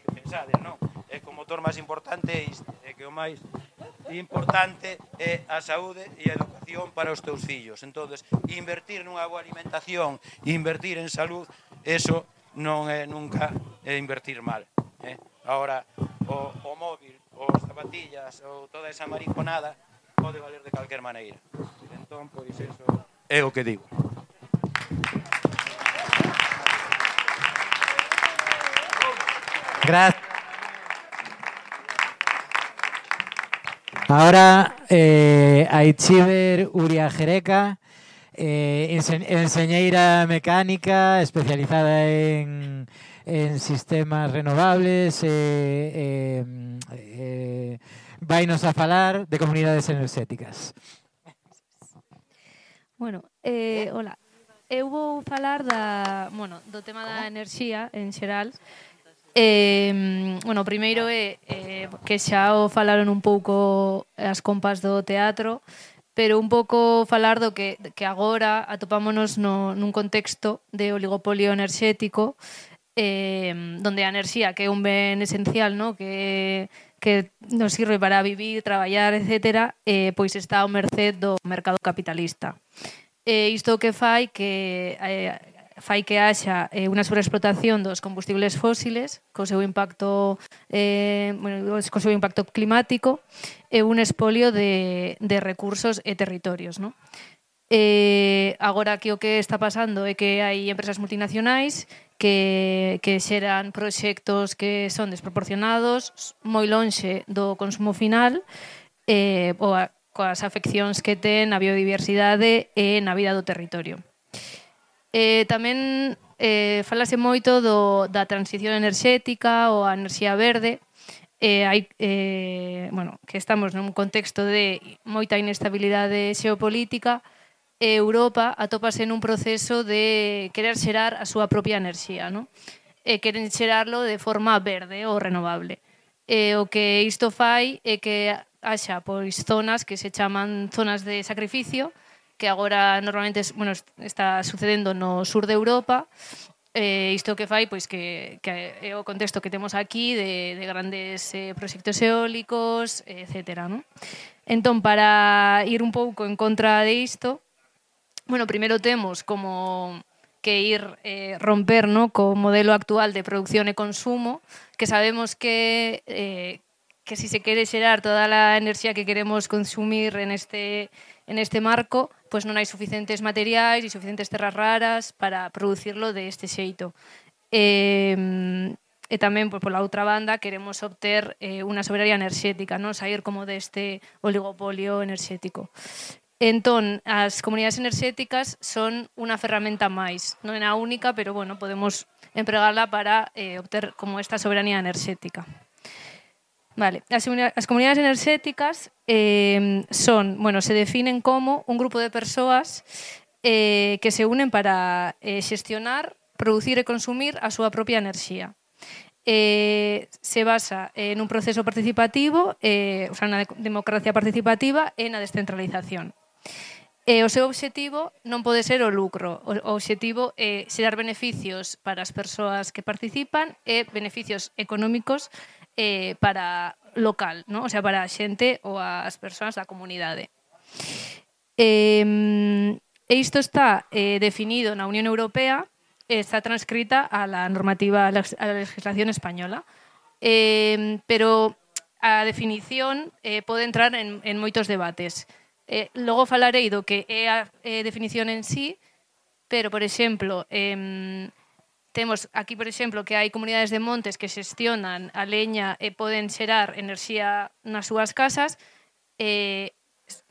que pensades, non? É que o motor máis importante é isto, é que o máis importante é a saúde e a educación para os teus fillos. Entonces, invertir nunha boa alimentación, invertir en salud, eso non é nunca invertir mal. Ahora, o móvil, os zapatillas, ou toda esa mariconada pode valer de calquer maneira. Entón, pois, eso é o que digo. Gracias. Ahora, Aichiber Uria Jereca, enseñeira mecánica especializada en sistemas renovables, vainos a falar de comunidades enerxéticas. Bueno, hola. Eu vou falar do tema da enerxía en xeral. Bueno, primeiro é que xa o falaron un pouco as compas do teatro, pero un pouco falar do que agora atopámonos nun contexto de oligopolio enerxético, donde a enerxía, que é un ben esencial, no? que nos sirve para vivir, traballar, etc., pois está ao merced do mercado capitalista. Isto que fai que haxa unha sobreexplotación dos combustibles fósiles co seu impacto climático e un espolio de recursos e territorios, non? Agora aquí o que está pasando é que hai empresas multinacionais que xeran proxectos que son desproporcionados, moi lonxe do consumo final, coas afeccións que ten a biodiversidade e na vida do territorio. Tamén falase moito da transición enerxética ou a enerxía verde, que estamos nun contexto de moita inestabilidade xeopolítica. Europa atópase nun proceso de querer xerar a súa propia enerxía, non? Queren xerarlo de forma verde ou renovable. O que isto fai é que haxa zonas que se chaman zonas de sacrificio, que agora normalmente está sucedendo no sur de Europa. Isto que fai que é o contexto que temos aquí de grandes proxectos eólicos, etc. Entón, para ir un pouco en contra de isto, primeiro temos como que ir romper co modelo actual de producción e consumo, que sabemos que si se quere xerar toda a enerxía que queremos consumir en este marco, pois non hai suficientes materiais e suficientes terras raras para producirlo de este xeito. E tamén, pola outra banda, queremos obter unha soberanía enerxética, sair como deste oligopolio enerxético. Entón, as comunidades enerxéticas son unha ferramenta máis. Non é a única, pero podemos empregala para obter como esta soberanía enerxética. Vale. As comunidades enerxéticas se definen como un grupo de persoas que se unen para xestionar, producir e consumir a súa propia enerxía. Se basa en un proceso participativo, na democracia participativa e na descentralización. O seu obxectivo non pode ser o lucro. O obxectivo é xerar beneficios para as persoas que participan e beneficios económicos para local, o sea, para a xente ou as persoas da comunidade. Isto está definido na Unión Europea, está transcrita a la normativa, a la legislación española, pero a definición pode entrar en moitos debates. Logo falarei do que é a definición en sí, pero, por exemplo, temos aquí, por exemplo, que hai comunidades de montes que xestionan a leña e poden xerar enerxía nas súas casas,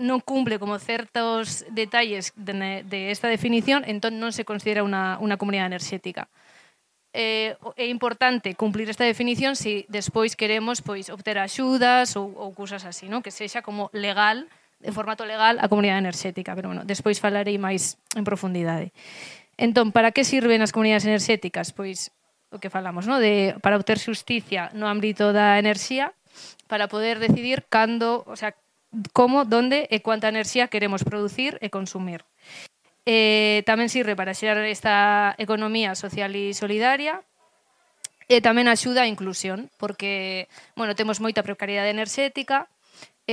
non cumple como certos detalles de esta definición, entón non se considera unha comunidade enerxética. É importante cumplir esta definición se despois queremos obter axudas ou cousas así, que sexa como legal, de formato legal, a comunidade enerxética, pero despois falarei máis en profundidade. Entón, para que sirven as comunidades enerxéticas? Pois o que falamos, para obter xusticia no ámbito da enerxía, para poder decidir cando, o sea, como, donde e cuánta enerxía queremos producir e consumir. Tamén sirve para xerar esta economía social e solidaria, E tamén axuda a inclusión, porque, bueno, temos moita precariedade enerxética,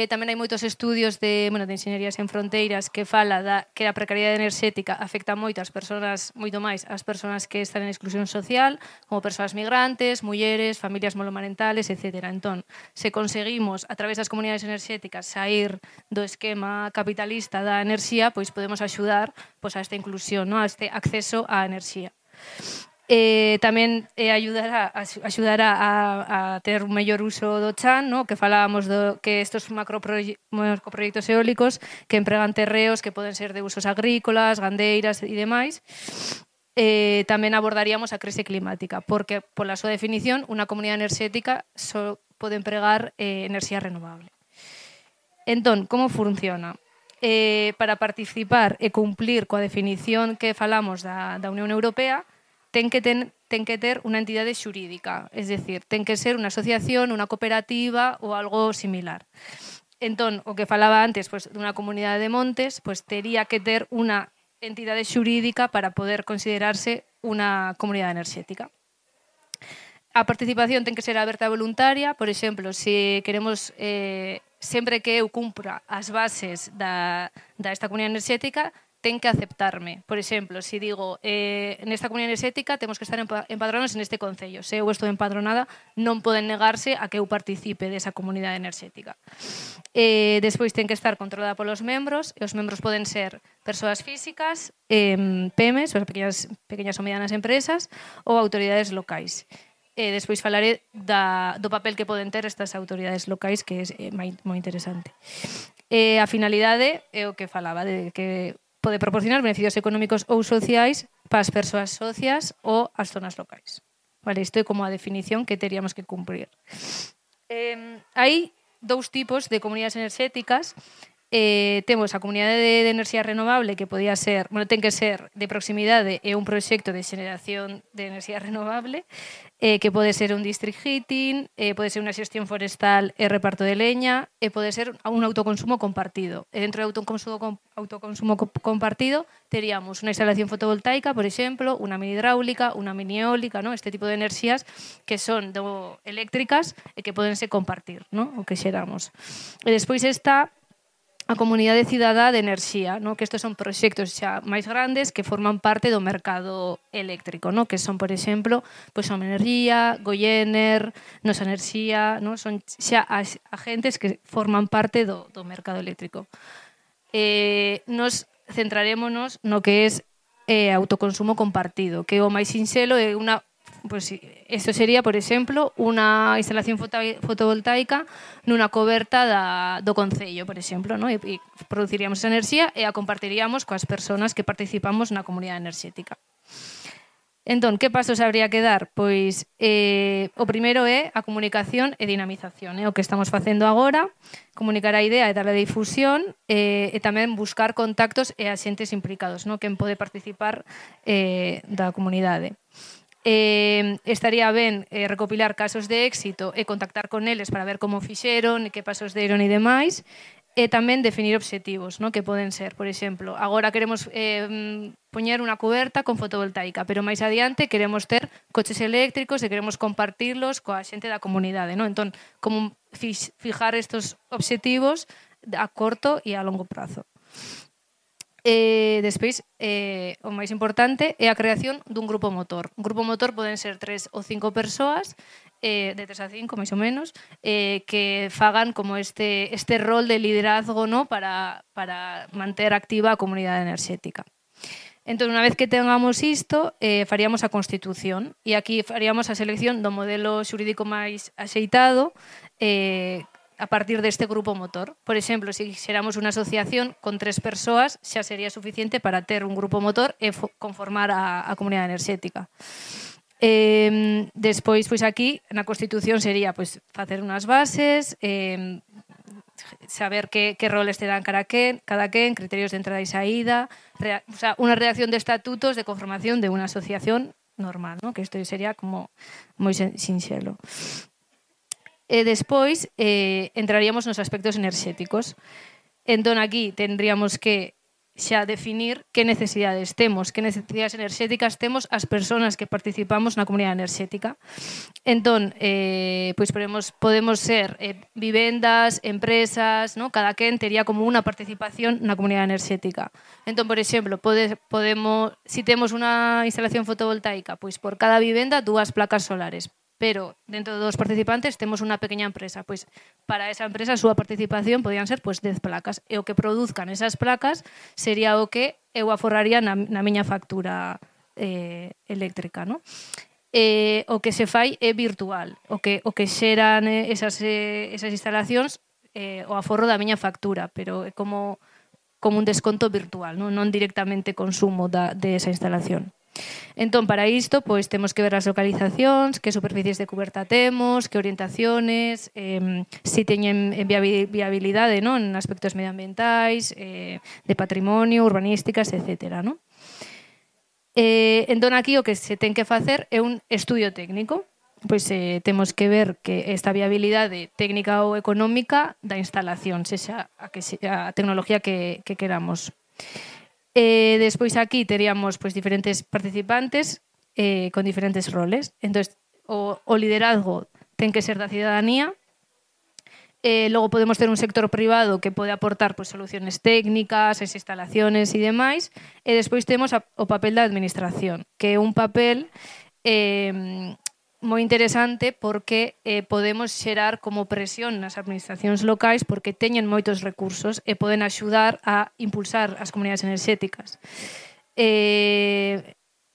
tamén hai moitos estudios de Enxeñerías Sen Fronteiras que fala que a precariedade enerxética afecta moito ás persoas, moito máis ás persoas que están en exclusión social, como persoas migrantes, mulleres, familias monomarentales, etc. Entón, se conseguimos, a través das comunidades enerxéticas, sair do esquema capitalista da enerxía, pois podemos axudar a esta inclusión, a este acceso á enerxía. Tamén axudará a ter un mellor uso do chan, que falábamos que estes macroproxectos eólicos que empregan terreos que poden ser de usos agrícolas, gandeiras e demais. Tamén abordaríamos a crise climática, porque, pola súa definición, unha comunidade enerxética só pode empregar enerxía renovable. Entón, como funciona? Para participar e cumplir coa definición que falamos da Unión Europea, ten que ter unha entidade xurídica, es decir, ten que ser unha asociación, unha cooperativa ou algo similar. Entón, o que falaba antes dunha comunidade de montes, tería que ter unha entidade xurídica para poder considerarse unha comunidade enerxética. A participación ten que ser aberta e voluntaria, por exemplo, se queremos, sempre que eu cumpra as bases desta comunidade enerxética, ten que aceptarme. Por exemplo, se digo, nesta comunidade enerxética temos que estar empadronados neste concello. Se eu estou empadronada, non poden negarse a que eu participe desa comunidade enerxética. Despois ten que estar controlada polos membros, e os membros poden ser persoas físicas, PEMES, pequeñas ou medianas empresas, ou autoridades locais. Despois falaré do papel que poden ter estas autoridades locais, que é moi interesante. A finalidade é o que falaba, de que pode proporcionar beneficios económicos ou sociais para as persoas socias ou as zonas locais. Vale, isto é como a definición que teríamos que cumprir. Hai dous tipos de comunidades enerxéticas. Temos a comunidade de enerxía renovable, que podía ser, ten que ser de proximidade e un proxecto de xeneración de enerxía renovable, que pode ser un district heating, pode ser unha xestión forestal e reparto de leña, e pode ser un autoconsumo compartido. E dentro do autoconsumo compartido teríamos unha instalación fotovoltaica, por exemplo, unha mini hidráulica, unha mini eólica, este tipo de enerxías que son eléctricas e que podense compartir, o que xeramos. E despois está a comunidade cidadá de enerxía, que estes son proxectos xa máis grandes que forman parte do mercado eléctrico, que son, por exemplo, Som Energía, Goiener, Nosa Enerxía, son xa agentes que forman parte do mercado eléctrico. Nos centrarémonos no que é autoconsumo compartido, que o máis sinxelo é unha... Isto sería, por exemplo, unha instalación fotovoltaica nunha coberta do concello, por exemplo, e produciríamos esa enerxía e a compartiríamos coas persoas que participamos na comunidade enerxética. Entón, que pasos habría que dar? Pois o primeiro é a comunicación e dinamización, o que estamos facendo agora, comunicar a idea e darle difusión, e tamén buscar contactos e axentes implicados, quen pode participar da comunidade. Estaría ben recopilar casos de éxito e contactar con eles para ver como fixeron, que pasos deron e demais, e tamén definir obxectivos, que poden ser, por exemplo, agora queremos poñer unha cuberta con fotovoltaica, pero máis adiante queremos ter coches eléctricos e queremos compartirlos coa xente da comunidade. Entón, como fijar estes obxectivos a corto e a longo prazo. Despois, o máis importante é a creación dun grupo motor. Un grupo motor poden ser 3 ou 5 persoas, de 3 a 5, máis ou menos, que fagan como este rol de liderazgo para manter activa a comunidade enerxética. Entón, unha vez que tengamos isto, faríamos a Constitución, e aquí faríamos a selección do modelo xurídico máis axeitado, a partir deste grupo motor. Por exemplo, se xeramos unha asociación con 3 persoas, xa sería suficiente para ter un grupo motor e conformar a comunidade enerxética. Despois, aquí, na Constitución sería facer unhas bases, saber que roles terán cada quen, criterios de entrada e saída, unha redacción de estatutos de conformación de unha asociación normal, que isto sería como moi sinxelo. E despois entraríamos nos aspectos enerxéticos. Entón, aquí tendríamos que xa definir que necesidades enerxéticas temos as persoas que participamos na comunidade enerxética. Entón, pois podemos ser vivendas, empresas, ¿no? Cada quen tería como unha participación na comunidade enerxética. Entón, por exemplo, si temos unha instalación fotovoltaica, pois por cada vivenda 2 placas solares, pero dentro dos participantes temos unha pequena empresa, pois para esa empresa a súa participación podían ser pois 10 placas, e o que produzcan esas placas sería o que eu aforraría na miña factura eléctrica, ¿no? O que se fai é virtual, o que xeran esas instalacións o aforro da miña factura, pero é como un desconto virtual, non directamente consumo de esa instalación. Entón, para isto, pois temos que ver as localizacións, que superficies de coberta temos, que orientaciones, se teñen viabilidade, non, en aspectos medioambientais, de patrimonio, urbanísticas, etc. Non? Entón, aquí o que se ten que facer é un estudio técnico. Pois temos que ver que esta viabilidade técnica ou económica da instalación, sexa a tecnología que queramos. Despois aquí teríamos pois diferentes participantes con diferentes roles. Entón, o liderazgo ten que ser da cidadanía. Logo podemos ter un sector privado que pode aportar pois soluciones técnicas, as instalaciones e demais. E despois temos o papel da administración, que é un papel moi interesante porque podemos xerar como presión nas administracións locais porque teñen moitos recursos e poden axudar a impulsar as comunidades enerxéticas.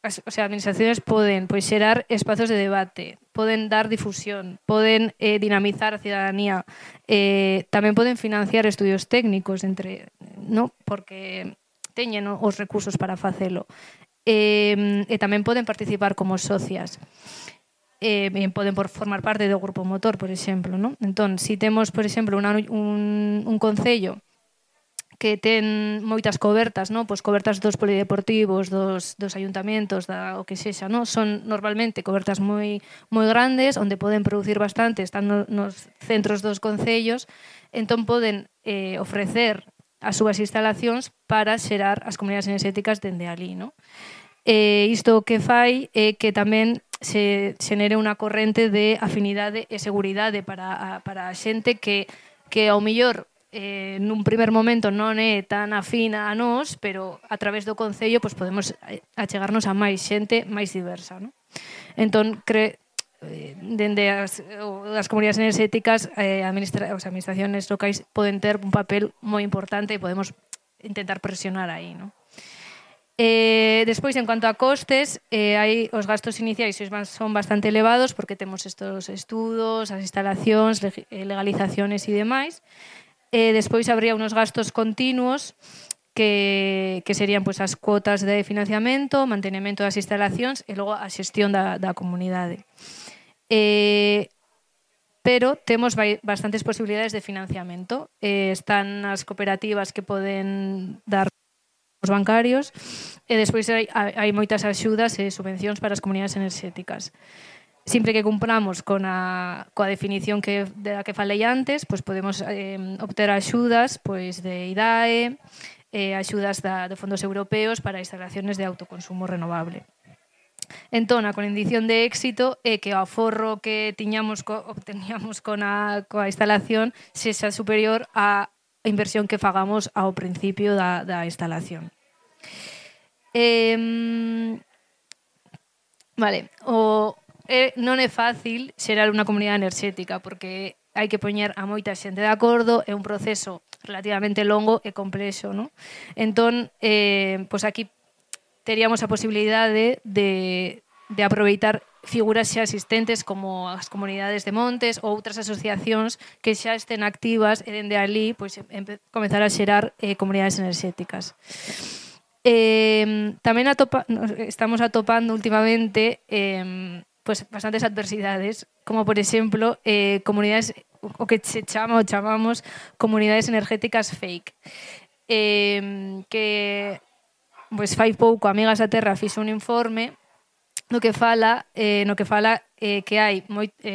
As administracións poden pois xerar espazos de debate, poden dar difusión, poden dinamizar a cidadanía, tamén poden financiar estudios técnicos porque teñen os recursos para facelo. E tamén poden participar como socias. Poden formar parte do grupo motor, por exemplo, non? Entón, se temos, por exemplo, un concello que ten moitas cobertas, non? Pois cobertas dos polideportivos, dos ayuntamentos, o que sexa, non? Son normalmente cobertas moi grandes, onde poden producir bastante, están nos centros dos concellos, entón poden ofrecer as súas instalacións para xerar as comunidades enerxéticas dende ali, non? Isto o que fai é que tamén se xenere unha corrente de afinidade e seguridade para a xente que ao mellor nun primer momento non é tan afina a nós, pero a través do Concello podemos achegarnos a máis xente máis diversa. Entón, dende as comunidades enerxéticas, as administracións locais poden ter un papel moi importante e podemos intentar presionar aí, non? Despois, en cuanto a costes, os gastos iniciais son bastante elevados porque temos estos estudos, as instalacións, legalizaciones e demais. Despois habría unos gastos continuos que serían as cuotas de financiamento, mantenimento das instalacións e logo a xestión da comunidade. Pero temos bastantes posibilidades de financiamento. Están as cooperativas que poden dar os bancarios e despois hai moitas axudas e subvencións para as comunidades enerxéticas. Sempre que cumpramos coa definición da que falei antes, podemos obter axudas de IDAE, axudas de fondos europeos para instalaciones de autoconsumo renovable. Entón, a condición de éxito é que o aforro que obteníamos coa instalación sexa superior á inversión que fagamos ao principio da instalación. Non é fácil xerar unha comunidade enerxética porque hai que poñer a moita xente de acordo, é un proceso relativamente longo e complexo, non? Entón, aquí teríamos a posibilidade de aproveitar figuras xa existentes como as comunidades de montes ou outras asociacións que xa estén activas e dende ali comezar a xerar comunidades enerxéticas. Tamén estamos atopando últimamente bastantes adversidades, como por exemplo comunidades, o que chamamos comunidades energéticas fake, que fai pouco Amigas da Terra fixo un informe no que fala que hai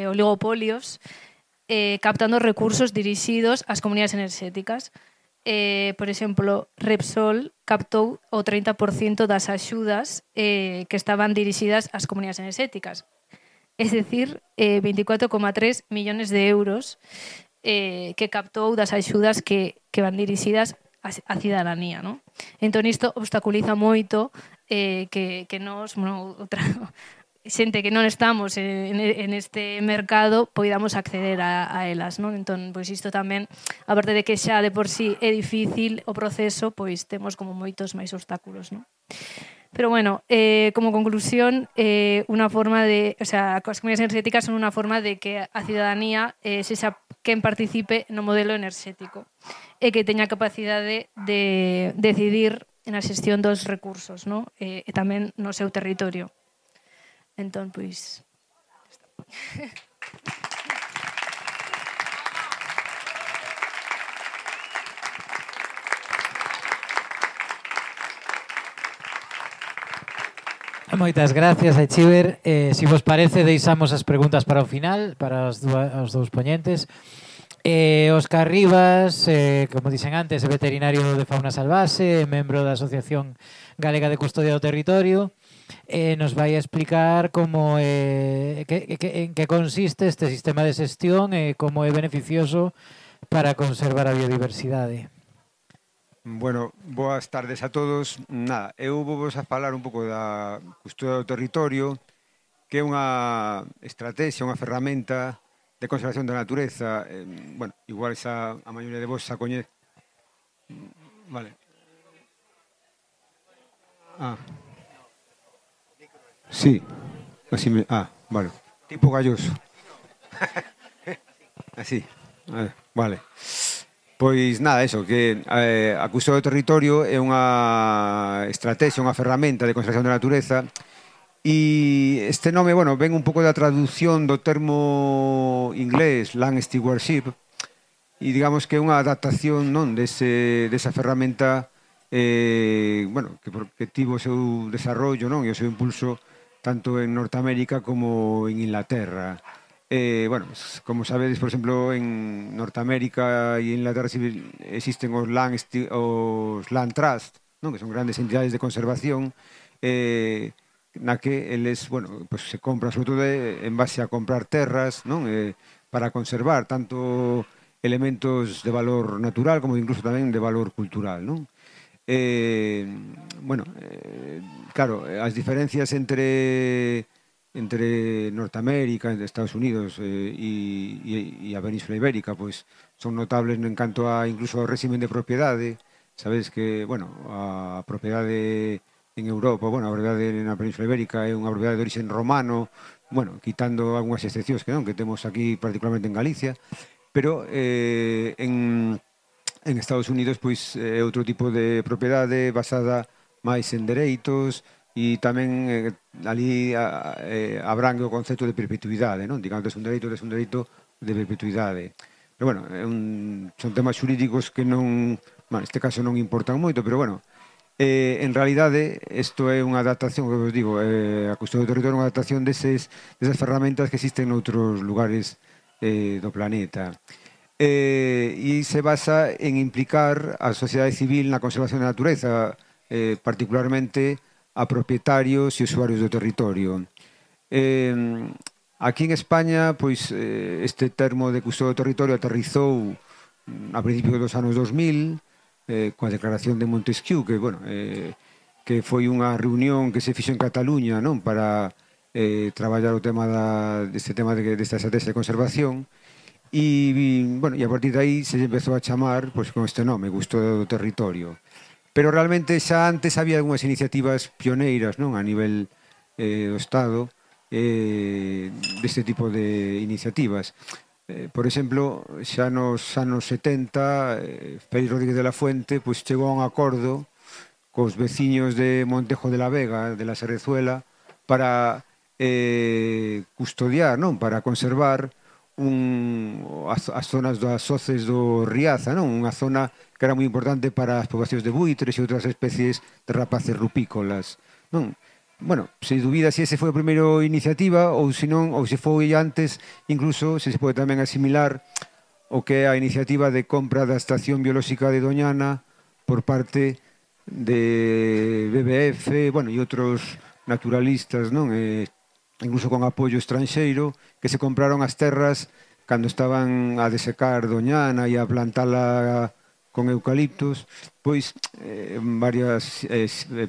oligopolios captando recursos dirixidos ás comunidades enerxéticas. por exemplo, Repsol captou o 30% das axudas que estaban dirixidas ás comunidades enerxéticas. Es decir, 24,3 millones de euros que captou das axudas que van dirixidas á cidadanía, non? Entón, isto obstaculiza moito que nos, xente que non estamos en este mercado poidamos acceder a elas, non? Entón, pois isto tamén, aparte de que xa de por sí é difícil o proceso, pois temos como moitos máis obstáculos, non? Pero bueno, como conclusión, unha forma de, o sea, as comunidades enerxéticas son unha forma de que a cidadanía sexa quen participe no modelo enerxético e que teña capacidade de decidir na xestión dos recursos, non? E tamén no seu territorio. Entón, pois... Moitas gracias, Aichiber. Si vos parece, deixamos as preguntas para o final, para os dous poñentes. Óscar Rivas, como dixen antes, é veterinario de fauna salvaxe, membro da Asociación Galega de Custodia do Territorio, nos vai a explicar como en que consiste este sistema de xestión e como é beneficioso para conservar a biodiversidade. Bueno, boas tardes a todos. Nada, eu vos a falar un pouco da custodia do territorio, que é unha estrategia, unha ferramenta de conservación da natureza. Bueno, igual xa a maioría de vos xa coñece. Vale. Sí. Así me... vale. Tipo galloso. Así. Vale. Pois nada, eso, que a custodia do territorio é unha estrategia, unha ferramenta de conservación da natureza, e este nome, bueno, ven un pouco da traducción do termo inglés land stewardship, e digamos que é unha adaptación, non, desa ferramenta bueno, que tivo o seu desarrollo, non, e o seu impulso tanto en Norteamérica como en Inglaterra. Bueno, como sabedes, por exemplo, en Norteamérica e en Inglaterra existen os Land Trust, non? Que son grandes entidades de conservación, na que eles, bueno, pues se compran, sobre todo en base a comprar terras, non? Para conservar tanto elementos de valor natural como incluso tamén de valor cultural, non? Bueno, claro, as diferencias entre Norteamérica, Estados Unidos e a Península Ibérica, pois son notables en canto a incluso ao régimen de propiedade. Sabedes que, bueno, a propiedade en Europa, bueno, a propiedade na Península Ibérica é unha propiedade de origen romano, bueno, quitando algunhas excepcións que non, que temos aquí particularmente en Galicia, pero en Estados Unidos pois é outro tipo de propiedade basada máis en dereitos, e tamén ali abrangue o concepto de perpetuidade, non? Digamos, tes un dereito de perpetuidade. Pero, bueno, son temas xurídicos que non, bueno, neste caso non importan moito, pero, bueno, en realidade, isto é unha adaptación, que vos digo, a custodia do territorio é unha adaptación desas ferramentas que existen noutros lugares do planeta. E se basa en implicar a sociedade civil na conservación da natureza, particularmente a propietarios e usuarios do territorio. Aquí en España, pois, este termo de custodia do territorio aterrizou a principios dos anos 2000, coa declaración de Montesquieu, que, bueno, que foi unha reunión que se fixo en Cataluña, non, para traballar o tema desta estrategia de conservación, e, bueno, e a partir de aí se empezou a chamar, pois, con este nome, custodia do territorio. Pero realmente xa antes había algunhas iniciativas pioneiras, non, a nivel do Estado, deste tipo de iniciativas. Por exemplo, xa nos anos 70, Félix Rodríguez de la Fuente pois chegou a un acordo cos veciños de Montejo de la Vega, de la Serrezuela, para custodiar, non, para conservar as zonas das soces do Riaza, non? Unha zona que era moi importante para as poboacións de buitres e outras especies de rapaces rupícolas, non? Bueno, se dubida se ese foi a primeira iniciativa ou se non, ou se foi antes, incluso se pode tamén asimilar o que é a iniciativa de compra da Estación Biolóxica de Doñana por parte de BBF, bueno, e outros naturalistas, non? Incluso con apoio estranxeiro, que se compraron as terras cando estaban a desecar Doñana e a plantala con eucaliptos, pois varias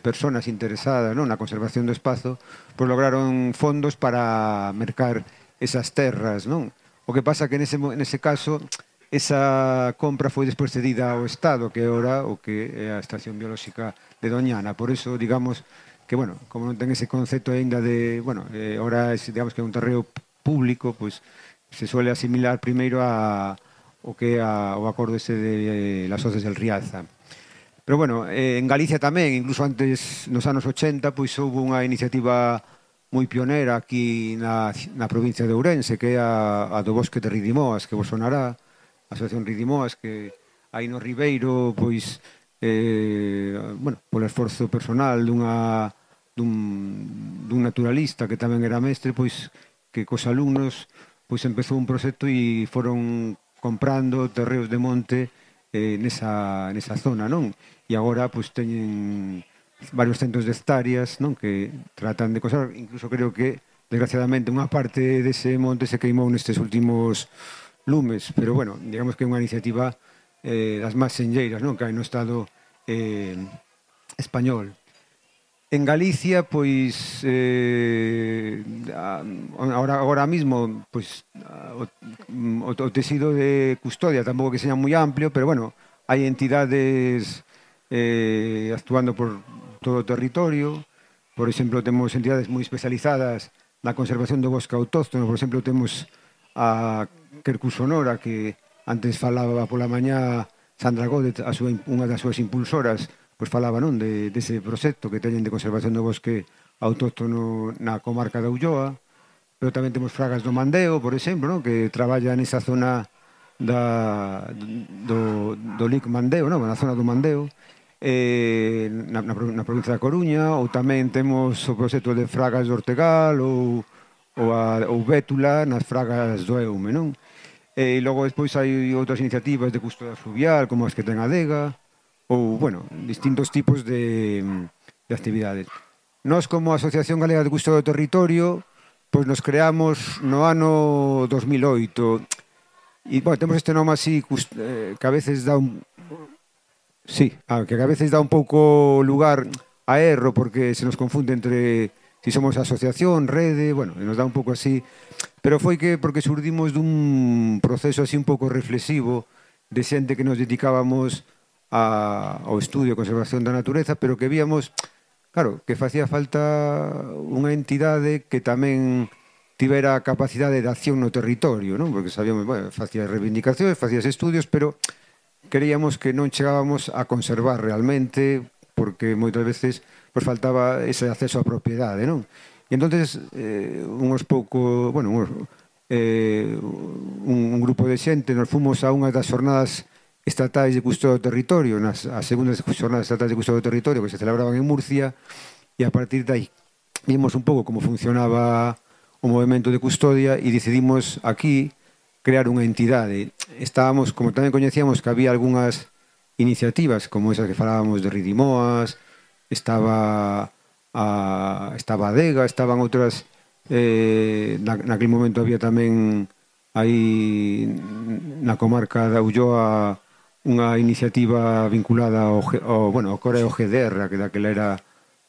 persoas interesadas, non, na conservación do espazo, pois lograron fondos para mercar esas terras, non? O que pasa que nese caso esa compra foi despois cedida ao Estado, que é ora o que é a Estación Biolóxica de Doñana. Por eso, digamos, que, bueno, como non ten ese concepto aínda de, bueno, ora, digamos que é un terreo público, pois se suele asimilar primeiro o que é o acordo ese de las Hoces del Riaza. Pero, bueno, en Galicia tamén, incluso antes, nos anos 80, pois houve unha iniciativa moi pionera aquí na provincia de Ourense, que é a do Bosque de Ridimoas, que vos sonará, a Asociación Ridimoas, que aí no Ribeiro, pois, bueno, polo esforzo personal dun naturalista que tamén era mestre, pois, que cos alumnos pois empezou un proxecto e foron comprando terreos de monte nesa zona, non? E agora, pois, teñen varios centos de hectáreas, non? Que tratan de conservar, incluso creo que, desgraciadamente, unha parte dese monte se queimou nestes últimos lumes, pero, bueno, digamos que é unha iniciativa das máis senlleiras, non? Que hai no Estado español. En Galicia, pois, agora mismo, pois, o tecido de custodia tampouco que seña moi amplio, pero, bueno, hai entidades actuando por todo o territorio. Por exemplo, temos entidades moi especializadas na conservación do bosque autóctono. Por exemplo, temos a Quercus Sonora, que antes falaba pola mañá Sandra Gódez, unha das súas impulsoras, pois falaba, non, dese proxecto que teñen de conservación do bosque autóctono na comarca da Ulloa. Pero tamén temos Fragas do Mandeo, por exemplo, non, que traballa nesa zona do Lic Mandeo, non, na zona do Mandeo, na provincia da Coruña. Ou tamén temos o proxecto de Fragas do Ortegal ou Bétula nas Fragas do Eume, non? E logo despois hai outras iniciativas de custodia fluvial, como as que ten a Dega, ou, bueno, distintos tipos de actividades. Nós, como Asociación Galega de Custodia do Territorio, pois nos creamos no ano 2008. E, bueno, temos este nome así que a veces dá un... Sí, que a veces dá un pouco lugar a erro, porque se nos confunde entre si somos asociación, rede, bueno, nos dá un pouco así, pero foi que porque xurdimos dun proceso así un pouco reflexivo de xente que nos dedicábamos ao estudio e conservación da natureza, pero que víamos, claro, que facía falta unha entidade que tamén tivera capacidade de acción no territorio, non? Porque sabíamos, bueno, facía reivindicacións, facías estudios, pero creíamos que non chegábamos a conservar realmente, porque moitas veces pues faltaba ese acceso á propiedade, non? E entonces un grupo de xente nos fomos a unha das xornadas estatais de custodia do territorio, as segundas xornadas estatais de custodia do territorio que se celebraban en Murcia, e a partir de aí vimos un pouco como funcionaba o movimento de custodia e decidimos aquí crear unha entidade. Estábamos, como tamén coñecíamos que había algunhas iniciativas como esas que falábamos de Ridimoas, estaba a Dega, estaban outras, naquele momento había tamén aí na comarca da Ulloa unha iniciativa vinculada ao Coreo GDR, que daquela era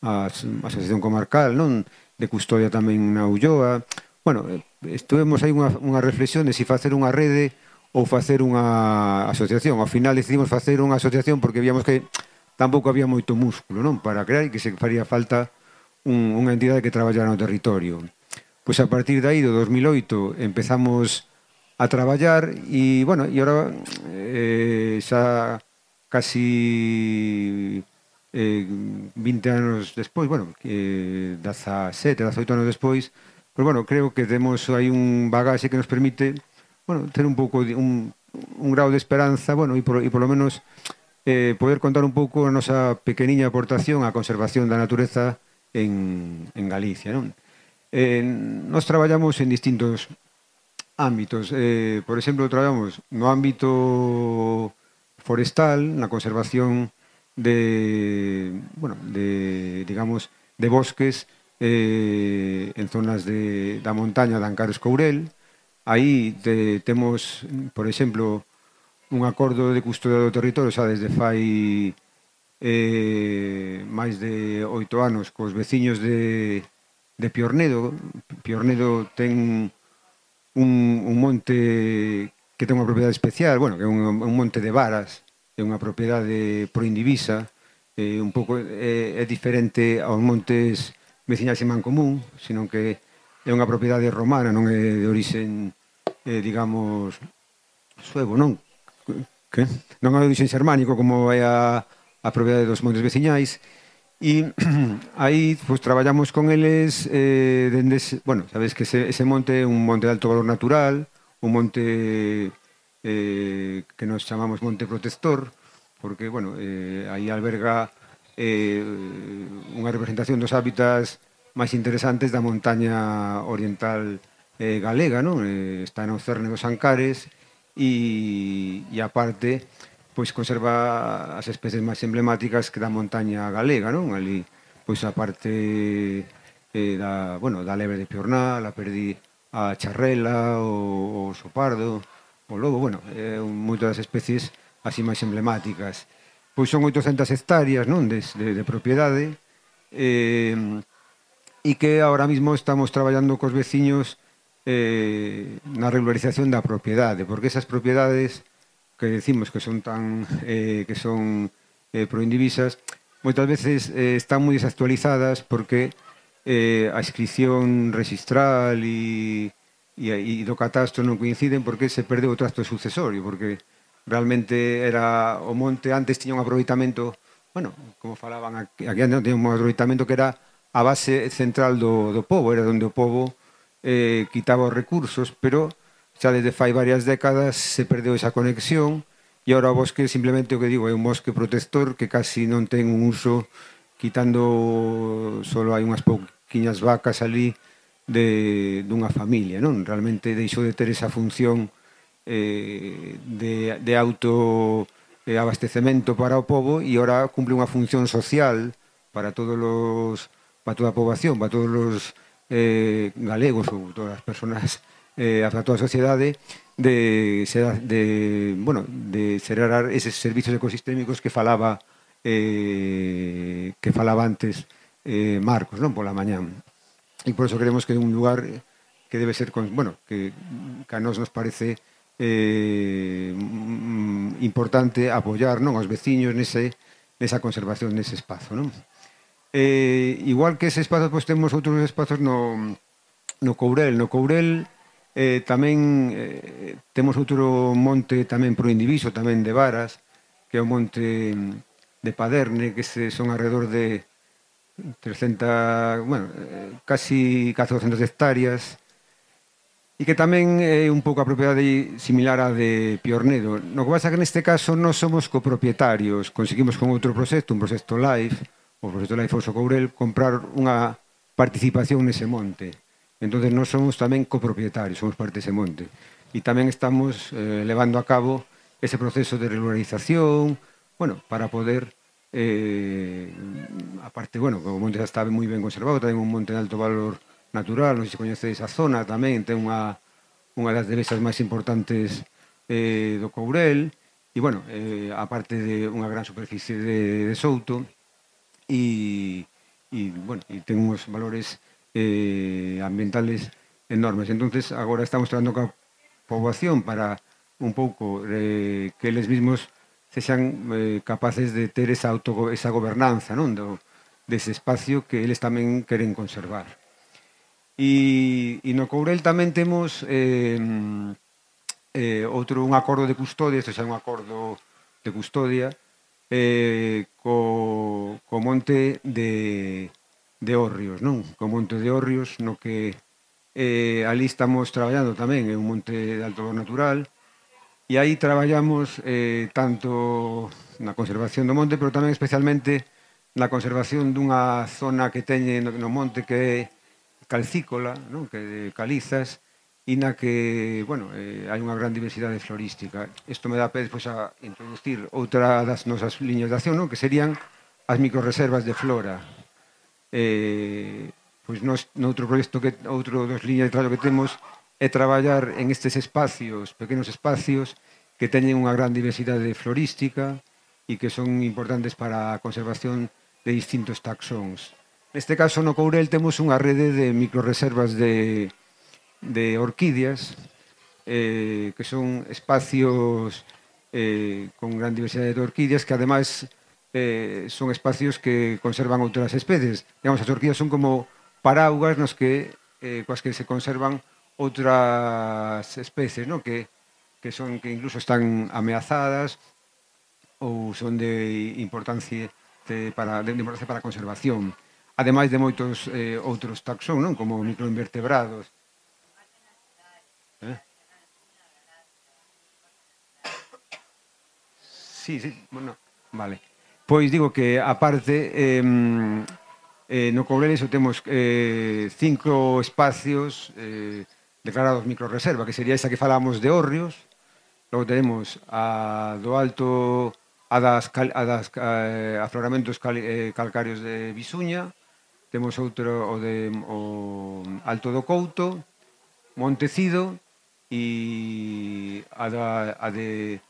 a Asociación Comarcal, non, de custodia tamén na Ulloa. Bueno, estuvemos aí unha reflexión de se facer unha rede ou facer unha asociación. Ao final decidimos facer unha asociación porque víamos que tampouco había moito músculo, non, para crear, e que se faría falta unha entidade que traballara no territorio. Pois a partir de aí, do 2008, empezamos a traballar e, bueno, e agora xa casi 20 anos despois, bueno, 17, 18 anos despois, pois, bueno, creo que temos aí un bagaxe que nos permite, bueno, ter un pouco un grau de esperanza, bueno, e polo menos poder contar un pouco a nosa pequeniña aportación á conservación da natureza en Galicia, non? Nos traballamos en distintos ámbitos. Por exemplo, traballamos no ámbito forestal, na conservación digamos, de bosques en zonas da montaña de Ancares Courel. Aí temos, por exemplo, un acordo de custodia do territorio xa desde fai máis de 8 anos cos veciños de Piornedo. Piornedo ten un monte que ten unha propiedade especial, bueno, que é un monte de varas, é unha propiedade proindivisa, un pouco é diferente aos montes veciñais en Mancomún, senón que é unha propiedade romana, non é de orixen, digamos, suevo, non? Que? Non é de orixen xermánico como é a propiedade dos montes veciñais. E aí pues, traballamos con eles bueno, sabes que ese monte é un monte de alto valor natural, un monte que nos chamamos monte protector, porque, bueno, aí alberga unha representación dos hábitats máis interesantes da montaña oriental galega, non? Está no cerne dos Ancares e aparte pois conserva as especies máis emblemáticas que da montaña galega, non? Ali, pois a parte da lebre de Piornal, a perdi a charrela, o oso pardo, o lobo, bueno, moitas das especies así máis emblemáticas. Pois son 800 hectáreas, non? De propiedade, e que ahora mismo estamos traballando cos veciños na regularización da propiedade, porque esas propiedades que decimos que son proindivisas, moitas veces están moi desactualizadas porque a inscripción registral e do catastro non coinciden porque se perdeu o tracto sucesorio, porque realmente era o monte antes tiña un aproveitamento, bueno, como falaban aquí antes tiña un aproveitamento que era a base central do pobo, era onde o pobo quitaba os recursos, pero xa desde fai varias décadas se perdeu esa conexión e agora o bosque simplemente o que digo é un bosque protector que casi non ten un uso, quitando solo hai unhas pouquiñas vacas ali dunha familia, non? Realmente deixou de ter esa función de auto abastecemento para o pobo e agora cumple unha función social para toda a poboación, para todos os galegos ou todas as persoas a toda a sociedade de xerar eses servizos ecosistémicos que falaba antes Marcos, non? Pola mañán. E por eso creemos que é un lugar que debe ser, bueno, que a nos parece importante apoiar, non? Aos veciños nesa conservación nese espazo, non? Igual que ese espazo, pois temos outros espazos no Courel. No Courel tamén temos outro monte tamén proindiviso, tamén de varas, que é o monte de Paderne, que son alrededor de 300, bueno, casi 400 hectáreas, e que tamén é un pouco a propiedade similar á de Piornedo. No que pasa que neste caso non somos copropietarios, conseguimos con outro proxecto, un proxecto LIFE, o proxecto LIFE Oso Courel, comprar unha participación nese monte. Entón, nós somos tamén copropietarios, somos parte dese monte. E tamén estamos levando a cabo ese proceso de regularización, bueno, para poder, aparte, bueno, o monte está moi ben conservado, tamén un monte de alto valor natural, non sei se coñecedes a zona, tamén ten unha das devesas máis importantes do Courel, e, bueno, aparte de unha gran superficie de souto, e bueno, ten uns valores ambientales enormes. Entonces, agora estamos traballando coa poboación para un pouco que eles mesmos sexan capaces de ter esa gobernanza, non? Dese espacio que eles tamén queren conservar. E no Courel tamén temos un acordo de custodia, isto xa é un acordo de custodia, co monte de Hórreos, non? Co monte de Hórreos, no que ali estamos traballando tamén, é un monte de alto valor natural, e aí traballamos tanto na conservación do monte, pero tamén especialmente na conservación dunha zona que teñe no monte que é calcícola, non? Que de calizas, e na que, bueno, hai unha gran diversidade florística. Isto me dá pé despois a introducir outra das nosas liñas de acción, non? Que serían as microreservas de flora. Pois nos, noutro proxecto que outro dos liñas de traballo que temos é traballar en estes espacios, pequenos espacios que teñen unha gran diversidade florística e que son importantes para a conservación de distintos taxóns. Neste caso, no Courel temos unha rede de microreservas de orquídeas, que son espacios con gran diversidade de orquídeas que ademais son espacios que conservan outras especies. Digamos, as orquídeas son como paraugas nos que, coas que se conservan outras especies, ¿no? que incluso están ameazadas ou son de importancia para a conservación. Ademais de moitos outros taxón, non? Como microinvertebrados. Sí, bueno, vale. Pois digo que, aparte, no Courel iso temos 5 espacios declarados microreserva, que sería esa que falamos de hórreos. Logo tenemos a do alto a das afloramentos calcáreos de Bisuña, temos outro o Alto do Couto, Montecido e a de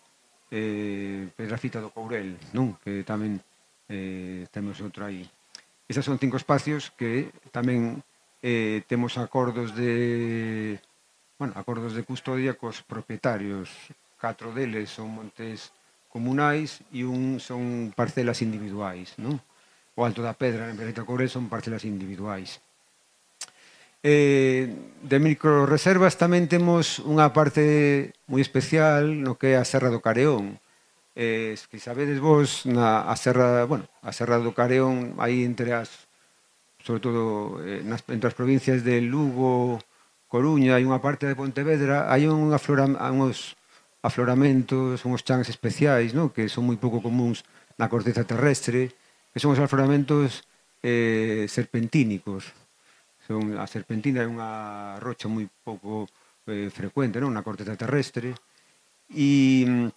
Pedrafita do Courel, non? Que tamén temos outro aí. Esas son 5 espacios que tamén temos acordos de custodia cos propietarios. 4 deles son montes comunais e un son parcelas individuais, non? O Alto da Pedra, en Pedrafita do Courel, son parcelas individuais. De microreservas tamén temos unha parte moi especial no que é a Serra do Careón. Que sabedes vos, a Serra do Careón, aí entre sobre todo entre as provincias de Lugo, Coruña e unha parte de Pontevedra, hai uns afloramentos, uns chans especiais, non? Que son moi pouco comuns na corteza terrestre, que son os afloramentos serpentínicos. A serpentina é unha rocha moi pouco frecuente, non? Na corteza terrestre e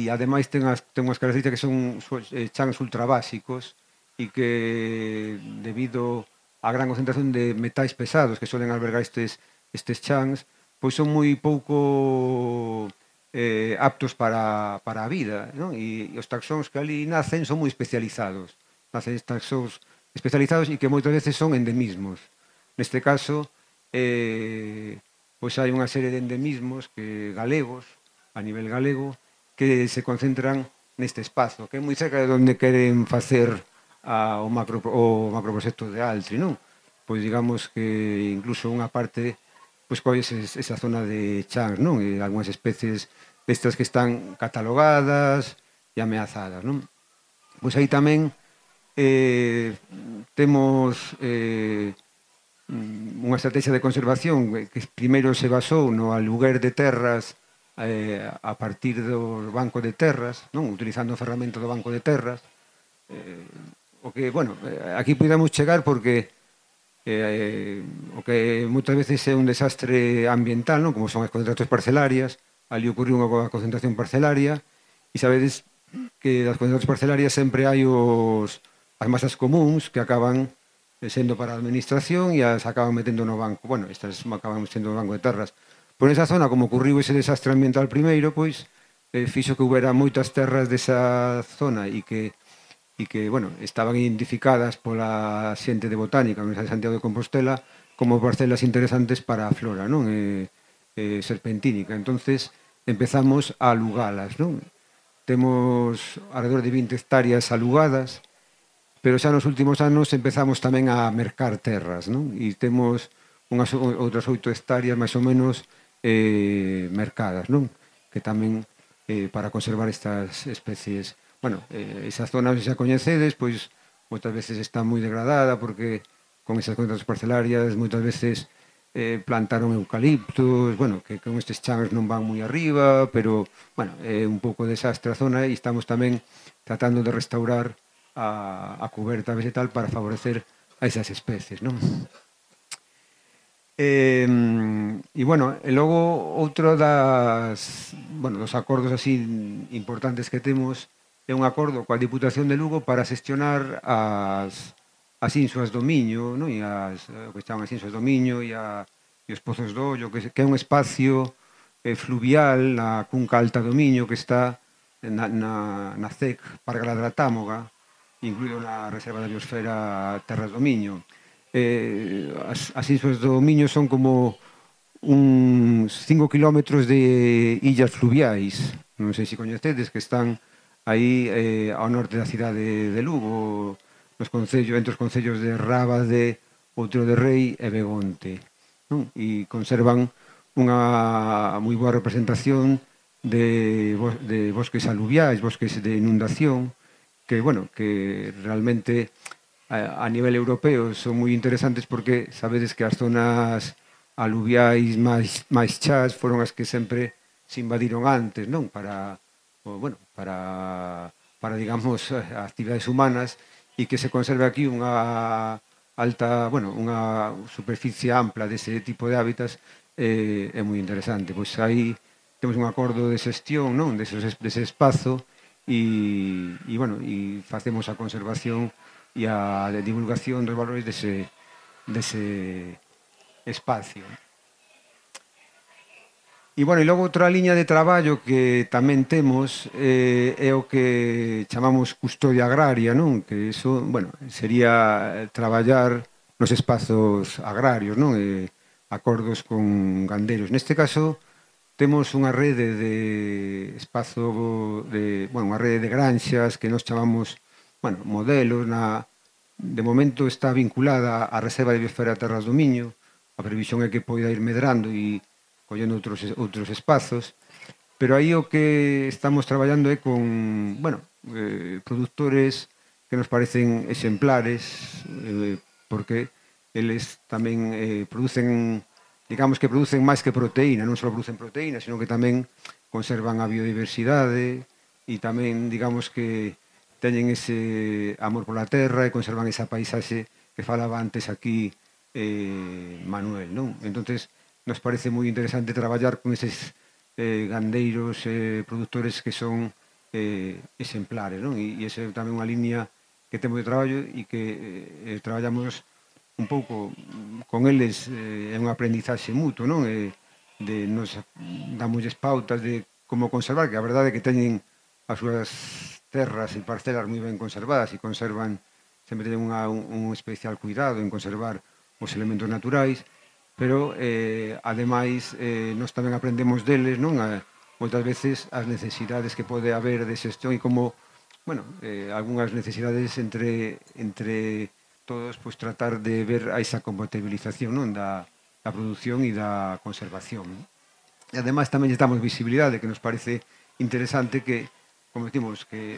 ademais ten unhas características que son chans ultrabásicos e que, debido á gran concentración de metais pesados que suelen albergar estes chans, pois son moi pouco aptos para a vida, non? E os taxóns que ali nacen son moi especializados. Nacen taxóns especializados e que moitas veces son endemismos. Neste caso, pois hai unha serie de endemismos galegos, a nivel galego, que se concentran neste espazo, que é moi cerca de onde queren facer o macroproxecto de Altri, non? Pois digamos que incluso unha parte pois colle esa zona de chans, non? E algunhas especies destas que están catalogadas e ameazadas, non? Pois aí tamén temos unha estrategia de conservación que primeiro se basou no aluguer de terras a partir do banco de terras, non? Utilizando a ferramenta do banco de terras. O que, bueno, aquí podemos chegar porque o que moitas veces é un desastre ambiental, non? Como son as concentracións parcelarias, ali ocurriu unha concentración parcelaria e sabedes que das concentracións parcelarias sempre hai as masas comuns que acaban sendo para a administración e as acaban metendo no banco. Bueno, estas acaban sendo no banco de terras. Por esa zona, como ocurriu ese desastre ambiental primeiro, pois fixo que houbera moitas terras desa zona e que, bueno, estaban identificadas pola xente de botánica na Universidade de Santiago de Compostela como parcelas interesantes para a flora, non? Serpentínica. Entonces, empezamos a alugalas, non? Temos alrededor de 20 hectáreas alugadas, pero xa nos últimos anos empezamos tamén a mercar terras, non? E temos outras 8 hectáreas máis ou menos mercadas, non? Que tamén para conservar estas especies. Bueno, esa zona xa coñecedes, pois moitas veces está moi degradada porque con esas concentracións parcelarias moitas veces plantaron eucaliptos, bueno, que con estes chans non van moi arriba, pero, bueno, é un pouco desastre a zona e estamos tamén tratando de restaurar a cuberta vegetal para favorecer a esas especies, non? E, bueno, e logo outro dos acordos así importantes que temos é un acordo coa Diputación de Lugo para xestionar as insuas do Miño, non? E o que estaban as insuas do Miño e os pozos do Ollo, que é un espacio fluvial na cunca alta do Miño que está na CEC Parque da Támoga, incluído na Reserva da Biosfera Terras do Miño. As insuas do Miño son como uns 5 kilómetros de illas fluviais, non sei se coñecedes, que están aí ao norte da cidade de Lugo, entre os concellos de Rábade, Outeiro de Rei e Begonte, non? E conservan unha moi boa representación de bosques aluviais, bosques de inundación, que, bueno, que realmente a nivel europeo son moi interesantes porque sabedes que as zonas aluviais máis chás foron as que sempre se invadiron antes, non? Para digamos, actividades humanas, e que se conserve aquí unha superficie ampla dese tipo de hábitats é moi interesante. Pois aí temos un acordo de xestión, non? Dese espazo e facemos a conservación e a divulgación dos valores dese espacio. E, bueno, e logo outra liña de traballo que tamén temos é o que chamamos custodia agraria, non? Que iso, bueno, sería traballar nos espazos agrarios, non? Acordos con gandeiros. Neste caso, temos unha rede de unha rede de granxas que nos chamamos, bueno, modelos. De momento está vinculada á Reserva de Biosfera Terras do Miño. A previsión é que poida ir medrando e collendo outros espazos, pero aí o que estamos traballando é con, produtores que nos parecen exemplares, porque eles tamén producen, digamos que producen máis que proteína, non só producen proteína, sino que tamén conservan a biodiversidade e tamén, digamos que teñen ese amor pola terra e conservan esa paisaxe que falaba antes aquí Manuel, non? Entonces, nos parece moi interesante traballar con eses gandeiros produtores que son exemplares, non? E esa é tamén unha liña que temos de traballo e que traballamos un pouco con eles, é un aprendizaxe mutuo, non? Nos damosles pautas de como conservar, que a verdade é que teñen as súas terras e parcelas moi ben conservadas e conservan, sempre teñen un especial cuidado en conservar os elementos naturais, pero, ademais, nos tamén aprendemos deles, non? Moitas veces as necesidades que pode haber de xestión e como, algunhas necesidades entre todos, pois tratar de ver esa compatibilización, non? Da produción e da conservación. E ademais tamén damos visibilidade, que nos parece interesante que, como decimos, que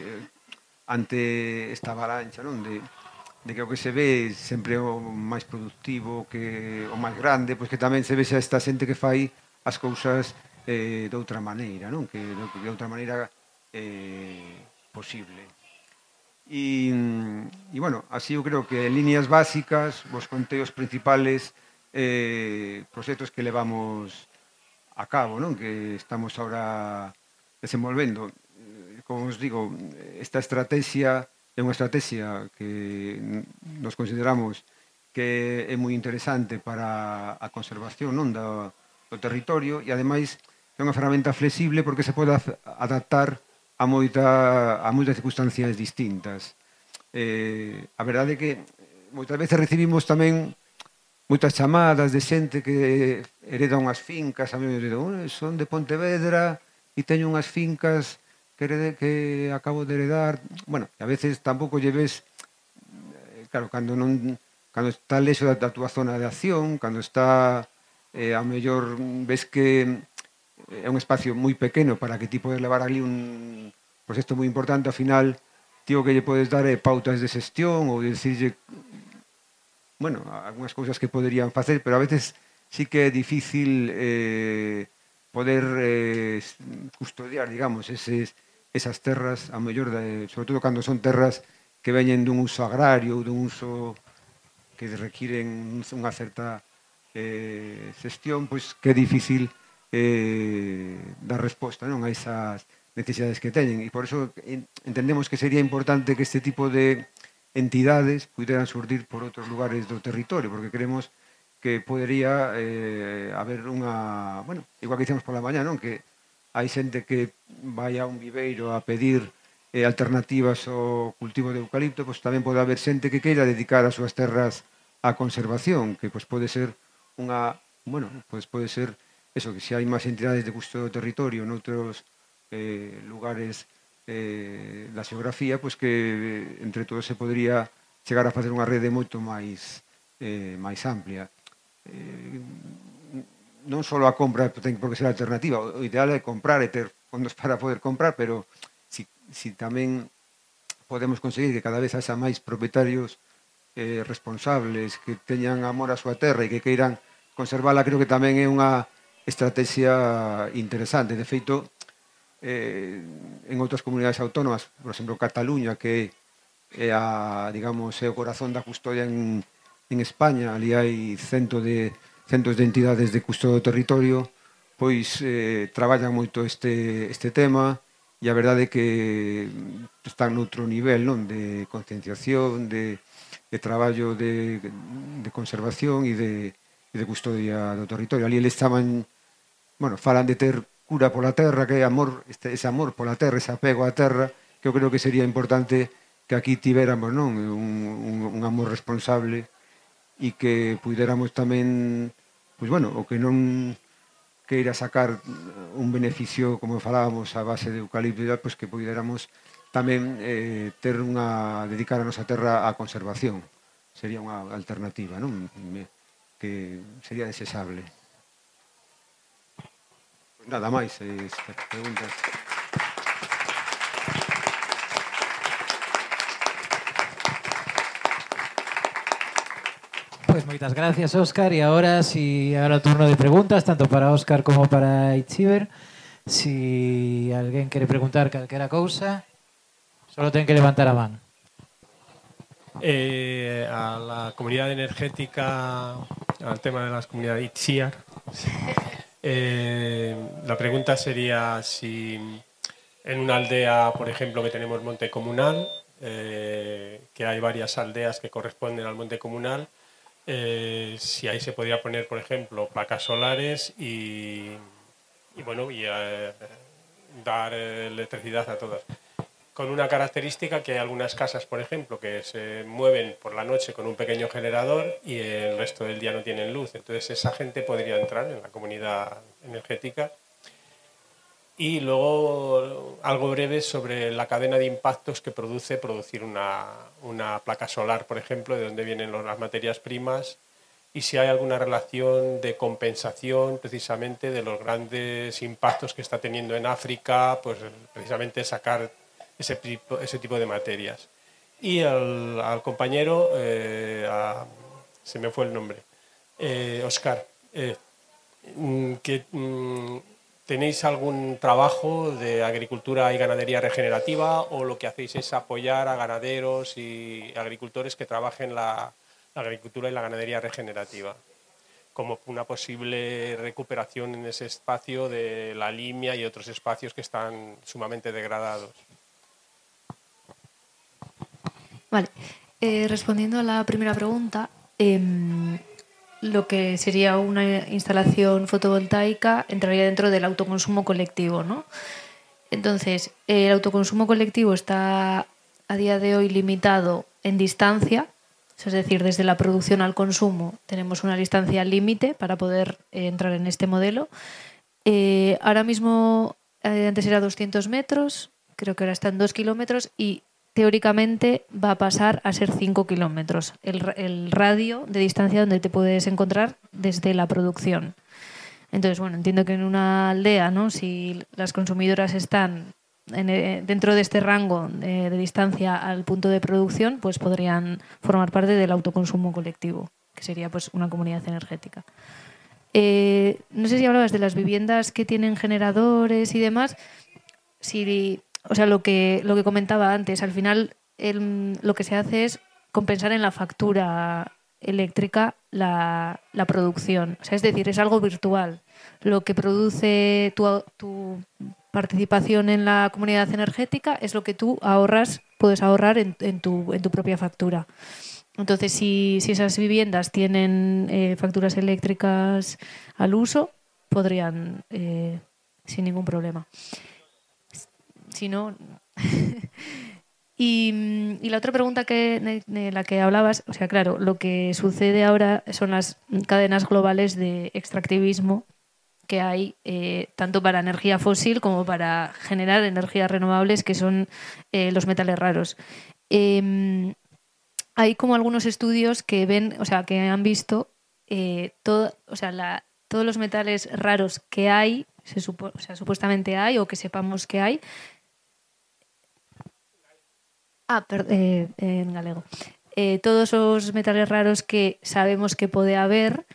ante esta avalancha, non? De que o que se ve sempre o máis productivo, que o máis grande, pois que tamén se vexa esta xente que fai as cousas de outra maneira, non? Que de outra maneira posible. E, bueno, así eu creo que en líneas básicas vos contei os principales proxectos que levamos a cabo, non? Que estamos ahora desenvolvendo. Como os digo, esta estrategia é unha estrategia que nos consideramos que é moi interesante para a conservación, non, do territorio, e ademais é unha ferramenta flexible porque se pode adaptar a moitas circunstancias distintas. A verdade é que moitas veces recibimos tamén moitas chamadas de xente que hereda unhas fincas, a mí me dicen, son de Pontevedra e teño unhas fincas que acabo de heredar. Bueno, a veces tampouco lle ves, claro, cando está lexo da túa zona de acción, cando está, ao mellor ves que é un espacio moi pequeno para que ti podes levar ali un proxecto moi importante, ao final, tío, que lle podes dar pautas de xestión ou dicirlle, algunhas cousas que poderían facer, pero a veces sí que é difícil poder custodiar, digamos, esas terras, a mellor, sobre todo cando son terras que veñen dun uso agrario ou dun uso que requiren unha certa xestión, pois que é difícil dar resposta, non, a esas necesidades que teñen, e por eso entendemos que sería importante que este tipo de entidades puderan surdir por outros lugares do territorio, porque creemos que podería haber unha, bueno, igual que dicemos pola mañá, non, que hai xente que vai a un viveiro a pedir alternativas ao cultivo de eucalipto, pois tamén pode haber xente que queira dedicar as súas terras á conservación, que pois pode ser unha, bueno, pois pode ser eso, que se hai máis entidades de custo do territorio noutros lugares da xeografía, pois que entre todos se podría chegar a facer unha rede moito máis amplia. Non só a compra ten por que ser alternativa, o ideal é comprar e ter fondos para poder comprar, pero si tamén podemos conseguir que cada vez haxa máis propietarios responsables, que teñan amor a súa terra e que queiran conservala, creo que tamén é unha estrategia interesante. De feito, en outras comunidades autónomas, por exemplo, Cataluña, que é digamos, é o corazón da custodia en España, ali hai centos de entidades de custodia do territorio, pois traballan moito este tema, e a verdade é que están noutro nivel, non, de concienciación, de traballo de conservación e de custodia do territorio. Ali eles estaban, bueno, falan de ter cura pola terra, que é amor, ese amor pola terra, ese apego á terra, que eu creo que sería importante que aquí tivéramos, non, un amor responsable e que puidéramos tamén, pois bueno, o que non queira sacar un beneficio, como falábamos, a base de eucalipto, pois que puidéramos tamén dedicar a nosa terra á conservación. Sería unha alternativa, non? Que sería desexable. Pois nada máis, estas preguntas. Pues moitas gracias, Óscar. E agora, ahora o turno de preguntas, tanto para Óscar como para Itziber. Si alguén quere preguntar calquera cousa, solo ten que levantar a man. A la comunidad energética, al tema de las comunidades Itziar, la pregunta sería si en una aldea, por ejemplo, que tenemos monte comunal, que hay varias aldeas que corresponden al monte comunal, si ahí se podría poner, por ejemplo, placas solares y dar electricidad a todas. Con una característica que hay algunas casas, por ejemplo, que se mueven por la noche con un pequeño generador y el resto del día no tienen luz. Entonces esa gente podría entrar en la comunidad energética. Y luego algo breve sobre la cadena de impactos que producir una placa solar, por ejemplo, de dónde vienen las materias primas y si hay alguna relación de compensación precisamente de los grandes impactos que está teniendo en África, pues precisamente sacar ese tipo de materias. Y al compañero, se me fue el nombre, Óscar, ¿tenéis algún trabajo de agricultura y ganadería regenerativa o lo que hacéis es apoyar a ganaderos y agricultores que trabajen la agricultura y la ganadería regenerativa como una posible recuperación en ese espacio de la Limia y otros espacios que están sumamente degradados? Vale. Respondiendo a la primera pregunta, lo que sería una instalación fotovoltaica entraría dentro del autoconsumo colectivo, ¿no? Entonces, el autoconsumo colectivo está a día de hoy limitado en distancia, es decir, desde la producción al consumo tenemos una distancia límite para poder entrar en este modelo. Ahora mismo, antes era 200 metros, creo que ahora está en 2 kilómetros y teóricamente va a pasar a ser 5 kilómetros, el radio de distancia donde te puedes encontrar desde la producción. Entonces, bueno, entiendo que en una aldea, ¿no?, si las consumidoras están dentro de este rango de distancia al punto de producción, pues podrían formar parte del autoconsumo colectivo, que sería pues una comunidad energética. No sé si hablabas de las viviendas que tienen generadores y demás. O sea, lo que comentaba antes, al final lo que se hace es compensar en la factura eléctrica la producción. O sea, es decir, es algo virtual. Lo que produce tu participación en la comunidad energética es lo que tú puedes ahorrar en tu propia factura. Entonces, si esas viviendas tienen facturas eléctricas al uso, podrían sin ningún problema. Si no... Y la otra pregunta de la que hablabas, o sea, claro, lo que sucede ahora son las cadenas globales de extractivismo que hay tanto para energía fósil como para generar energías renovables, que son los metales raros. Hay como algunos estudios que ven, o sea, que han visto todos los metales raros que hay, supuestamente hay o que sepamos que hay. En galego. Todos os metales raros que sabemos que pode haber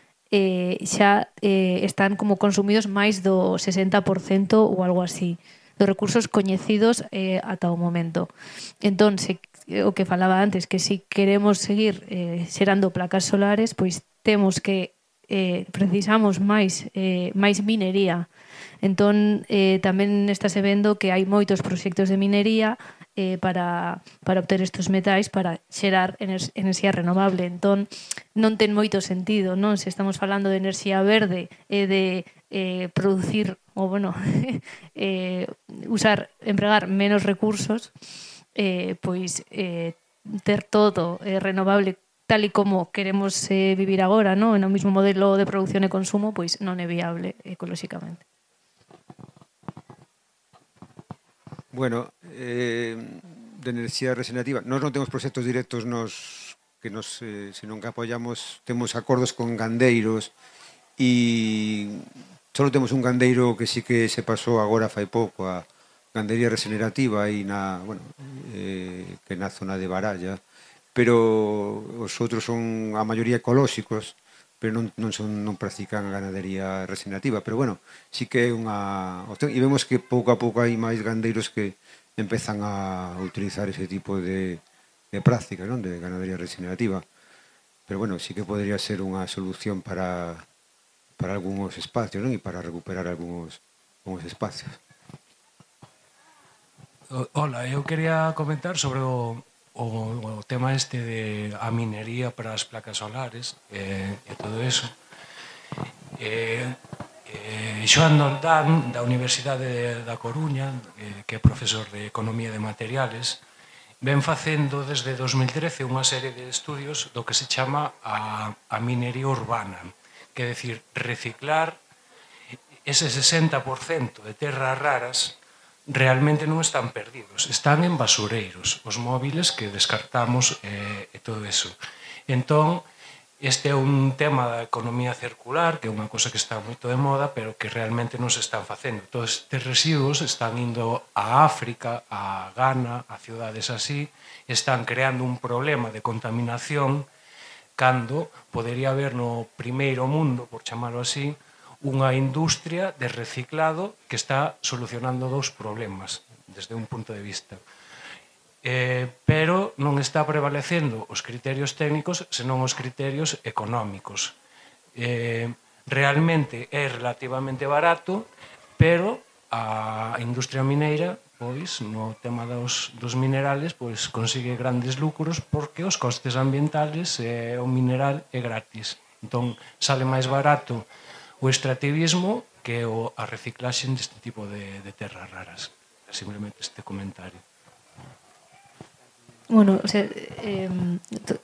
xa están como consumidos máis do 60% ou algo así dos recursos coñecidos ata o momento. Entón, o que falaba antes, que se queremos seguir xerando placas solares, pois temos que precisamos máis minería. Entón, tamén estáse vendo que hai moitos proxectos de minería para obter estes metais para xerar enerxía renovable. Entón, non ten moito sentido, non? Se estamos falando de enerxía verde e de producir, ou bueno, empregar menos recursos, pois ter todo renovable tal e como queremos vivir agora, non? No mesmo modelo de producción e consumo, pois non é viable ecolóxicamente. Bueno, de enerxía regenerativa, nós non temos proxectos directos senón que apoiamos, temos acordos con gandeiros e só temos un gandeiro que sí que se pasou agora fai pouco a gandería regenerativa aí que na zona de Baralla, pero os outros son a maioría ecolóxicos, pero non practican a ganadería regenerativa, pero bueno, sí que é unha opción, e vemos que pouco a pouco hai máis gandeiros que empezan a utilizar ese tipo de práctica, non, de ganadería regenerativa, pero bueno, sí que podría ser unha solución para algúns espacios, non, e para recuperar algúns espacios. Hola, eu quería comentar sobre o tema este de a minería para as placas solares e todo eso. Xoan Doldán, da Universidade da Coruña, que é profesor de Economía de Materiales, ven facendo desde 2013 unha serie de estudios do que se chama a minería urbana, que é dicir, reciclar ese 60% de terras raras realmente non están perdidos, están en basureiros, os móviles que descartamos e todo eso. Entón, este é un tema da economía circular, que é unha cosa que está moito de moda, pero que realmente non se están facendo. Todos estes residuos están indo a África, a Ghana, a ciudades así, están creando un problema de contaminación cando podería haber no primeiro mundo, por chamarlo así, unha industria de reciclado que está solucionando dous problemas desde un punto de vista. Pero non está prevalecendo os criterios técnicos senón os criterios económicos. Realmente é relativamente barato, pero a industria mineira, pois, no tema dos minerales, pois consigue grandes lucros porque os costes ambientales e o mineral é gratis. Entón, sale máis barato o extractivismo que a reciclaxe deste tipo de terras raras. Simplemente este comentario. Bueno, o sea,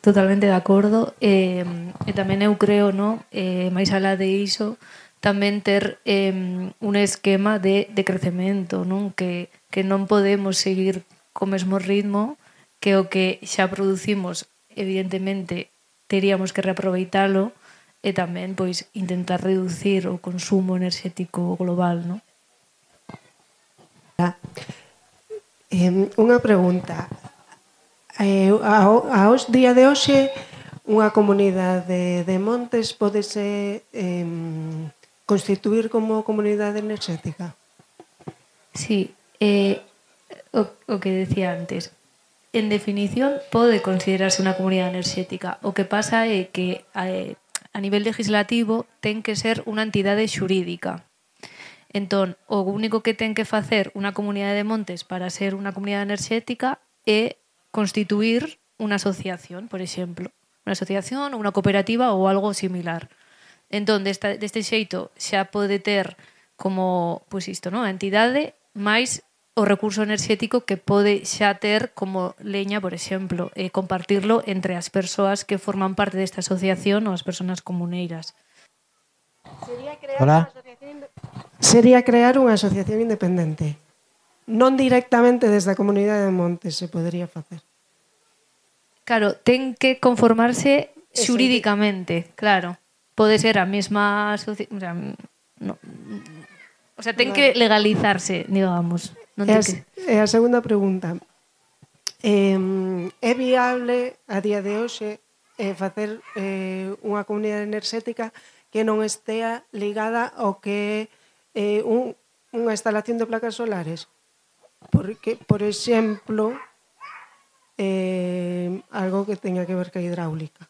totalmente de acordo. E tamén eu creo, no, máis alá de iso, tamén ter un esquema de crecemento, non? Que non podemos seguir co mesmo ritmo que o que xa producimos, evidentemente, teríamos que reaproveitalo e tamén pois intentar reducir o consumo enerxético global, non? Unha pregunta. Aos día de hoxe, unha comunidade de montes podese constituir como comunidade enerxética? Sí, o que decía antes. en definición, pode considerarse unha comunidade enerxética. O que pasa é que a nivel legislativo ten que ser unha entidade xurídica. Entón, o único que ten que facer unha comunidade de montes para ser unha comunidade enerxética é constituir unha asociación, por exemplo. Unha asociación, unha cooperativa ou algo similar. Entón, deste xeito xa pode ter como, pois isto, non? A entidade máis o recurso enerxético que pode xa ter como leña, por exemplo, e compartirlo entre as persoas que forman parte desta asociación ou as persoas comuneiras. Sería crear unha asociación independente. Non directamente desde a comunidade de montes se podería facer. Claro, ten que conformarse xurídicamente, claro. Pode ser a mesma asociación, o sea, ten que legalizarse, digamos. E a segunda pregunta. É viable a día de hoxe facer unha comunidade enerxética que non estea ligada ao que é unha instalación de placas solares? Porque, por exemplo, algo que teña que ver ca hidráulica.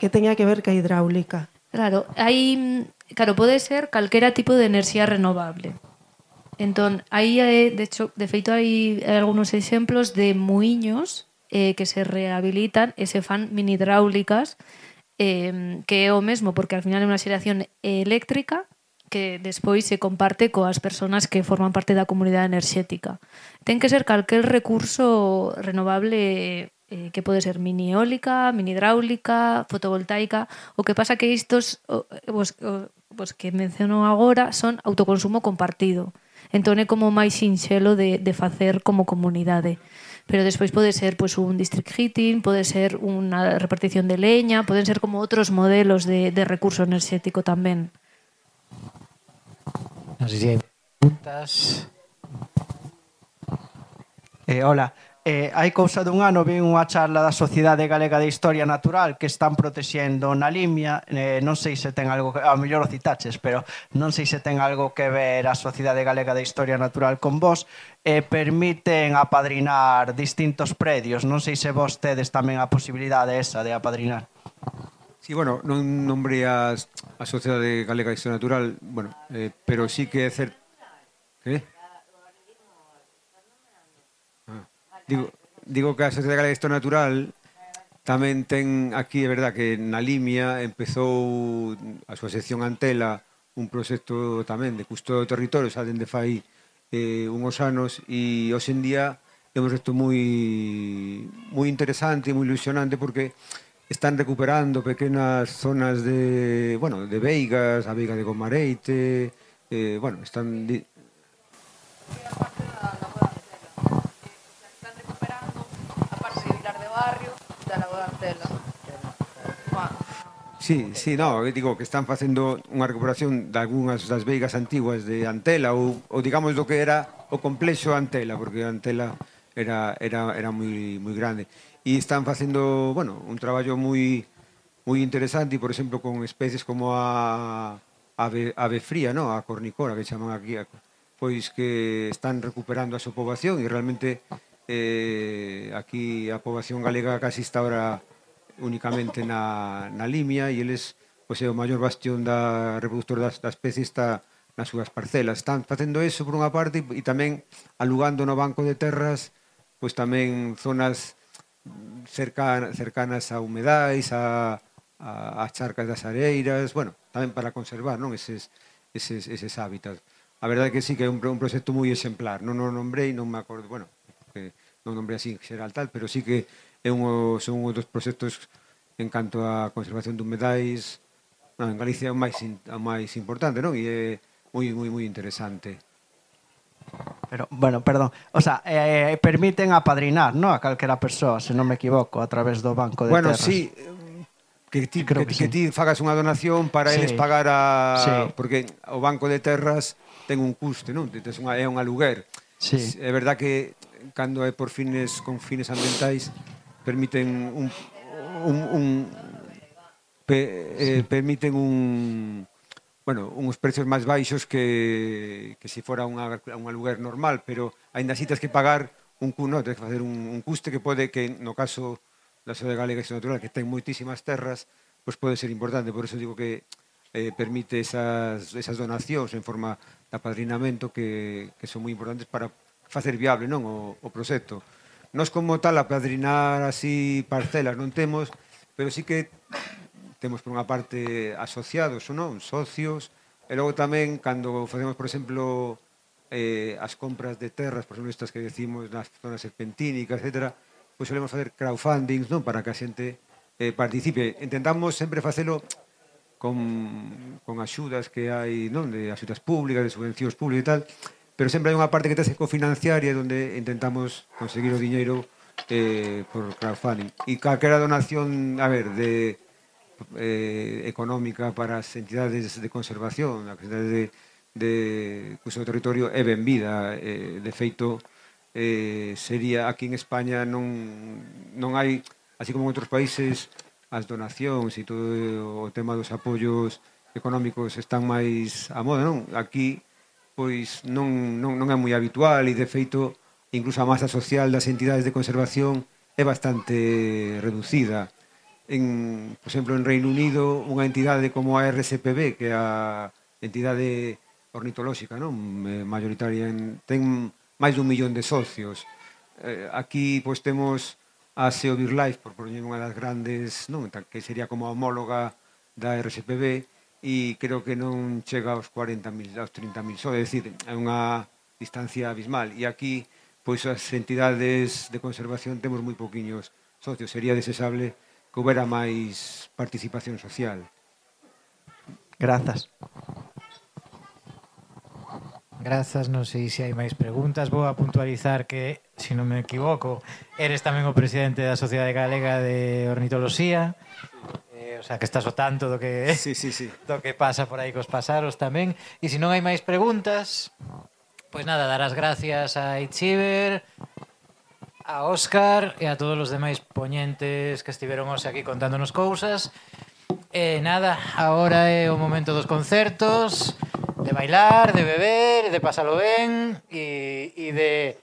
Que teña que ver ca hidráulica. Claro, pode ser calquera tipo de enerxía renovable. Entón, aí, de feito, hai algúns exemplos de muiños que se rehabilitan e se fan mini hidráulicas, que é o mesmo, porque al final é unha xeración eléctrica que despois se comparte coas persoas que forman parte da comunidade enerxética. Ten que ser calquer recurso renovable que pode ser mini eólica, mini hidráulica, fotovoltaica. O que pasa que estos que menciono agora son autoconsumo compartido. Entón é como máis sinxelo de facer como comunidade. Pero despois pode ser un district heating, pode ser unha repartición de leña, poden ser como outros modelos de recurso enerxético tamén. Non sei se hai preguntas. Hola. Hai cousa dun ano vi unha charla da Sociedade Galega de Historia Natural que están protexendo na Limia. Non sei se ten algo, a mellor o citaches, pero non sei se ten algo que ver a Sociedade Galega de Historia Natural con vos. Permiten apadrinar distintos predios. Non sei se vos tedes tamén a posibilidade esa de apadrinar. Sí, bueno, non nombrei a Sociedade Galega de Historia Natural, bueno, pero sí que é certo... Que? Digo que a Sociedade Galega de Historia Natural tamén ten aquí, é verdad, que na Limia empezou a súa sección Antela un proxecto tamén de custodio do territorio, xa dende fai unhos anos, e hoxe en día é un proxecto moi interesante e moi ilusionante porque están recuperando pequenas zonas de veigas, a veiga de Gomareite, están... Sí, digo que están facendo unha recuperación de algunhas das veigas antiguas de Antela ou digamos do que era o complexo Antela, porque Antela era moi grande. E están facendo, un traballo moi interesante, por exemplo, con especies como a ave fría, a cornicora, que chaman aquí, pois que están recuperando a súa poboación e realmente aquí a poboación galega casi está ahora únicamente na Limia e eles, pois é o maior bastión da reproductor da especie está nas súas parcelas. Están facendo eso por unha parte e tamén alugando no banco de terras pois tamén zonas cercanas a humedais, a charcas das areiras, tamén para conservar eses hábitats. A verdade é que sí que é un proxecto moi exemplar. Non o nombrei, non me acordo, non nombrei así en xeral tal, pero sí que son un dos proxectos en canto a conservación de humedais en Galicia é o máis importante, non? E é moi interesante. Pero, perdón, o sea, permiten apadrinar, non? A calquera persoa, se non me equivoco, a través do banco de terras. Sí, que ti fagas unha donación para eles pagar porque o banco de terras ten un custe, non? É un aluguer. É verdad que cando é con fines ambientais permiten uns precios máis baixos que se fora un aluguer normal, pero aínda así tens que pagar tens que facer un custe que pode, que no caso da Sociedade Galega de Xestión Natural, que ten moitísimas terras, pois pode ser importante. Por eso digo que permite esas donacións en forma de apadrinamento que son moi importantes para facer viable, non, o proxecto. Nos como tal apadrinar así parcelas non temos, pero sí que temos por unha parte asociados, non, socios, e logo tamén cando facemos, por exemplo, as compras de terras, por exemplo, estas que decimos nas zonas serpentínicas, etc., pois solemos facer crowdfundings, non, para que a xente participe. Intentamos sempre facelo con axudas que hai, non, de axudas públicas, de subvencións públicas e tal, pero sempre hai unha parte que tens que cofinanciar e onde intentamos conseguir o diñeiro por crowdfunding. E calquera donación, a ver, económica para as entidades de conservación, as entidades de uso do territorio é benvida. De feito, sería aquí en España non hai, así como en outros países, as donacións e todo o tema dos apoios económicos están máis a moda, non? Aquí pois non é moi habitual e de feito incluso a masa social das entidades de conservación é bastante reducida. Por exemplo, en Reino Unido, unha entidade como a RSPB, que é a entidade ornitolóxica, non, mayoritaria, ten máis de 1 millón de socios. Aquí pois temos a SEO BirdLife, por poñer unha das grandes, non, que sería como a homóloga da RSPB, e creo que non chega aos 40.000, aos 30.000 só, é dicir, é unha distancia abismal. E aquí, pois as entidades de conservación temos moi pouquiños socios. Sería desexable que houbera máis participación social. Grazas. Grazas, non sei se hai máis preguntas. Vou a puntualizar que, se non me equivoco, eres tamén o presidente da Sociedade Galega de Ornitoloxía. O sea, que estás ao tanto do que do que pasa por aí cos pasaros tamén. E se non hai máis preguntas, pois nada, dar as gracias a Itziber, a Óscar e a todos os demais poñentes que estiveron hoxe aquí contándonos cousas. E nada, agora é o momento dos concertos, de bailar, de beber, de pasalo ben e de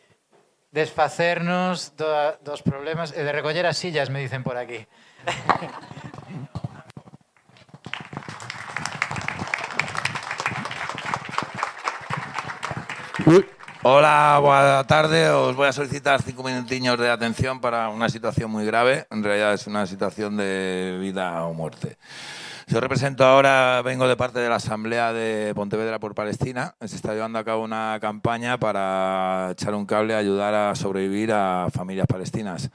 desfacernos dos problemas e de recoller as sillas, me dicen por aquí. Hola, buena tarde. Os voy a solicitar 5 minutiños de atención para una situación muy grave. En realidad es una situación de vida o muerte. Yo represento ahora, vengo de parte de la Asamblea de Pontevedra por Palestina. Se está llevando a cabo una campaña para echar un cable a ayudar a sobrevivir a familias palestinas.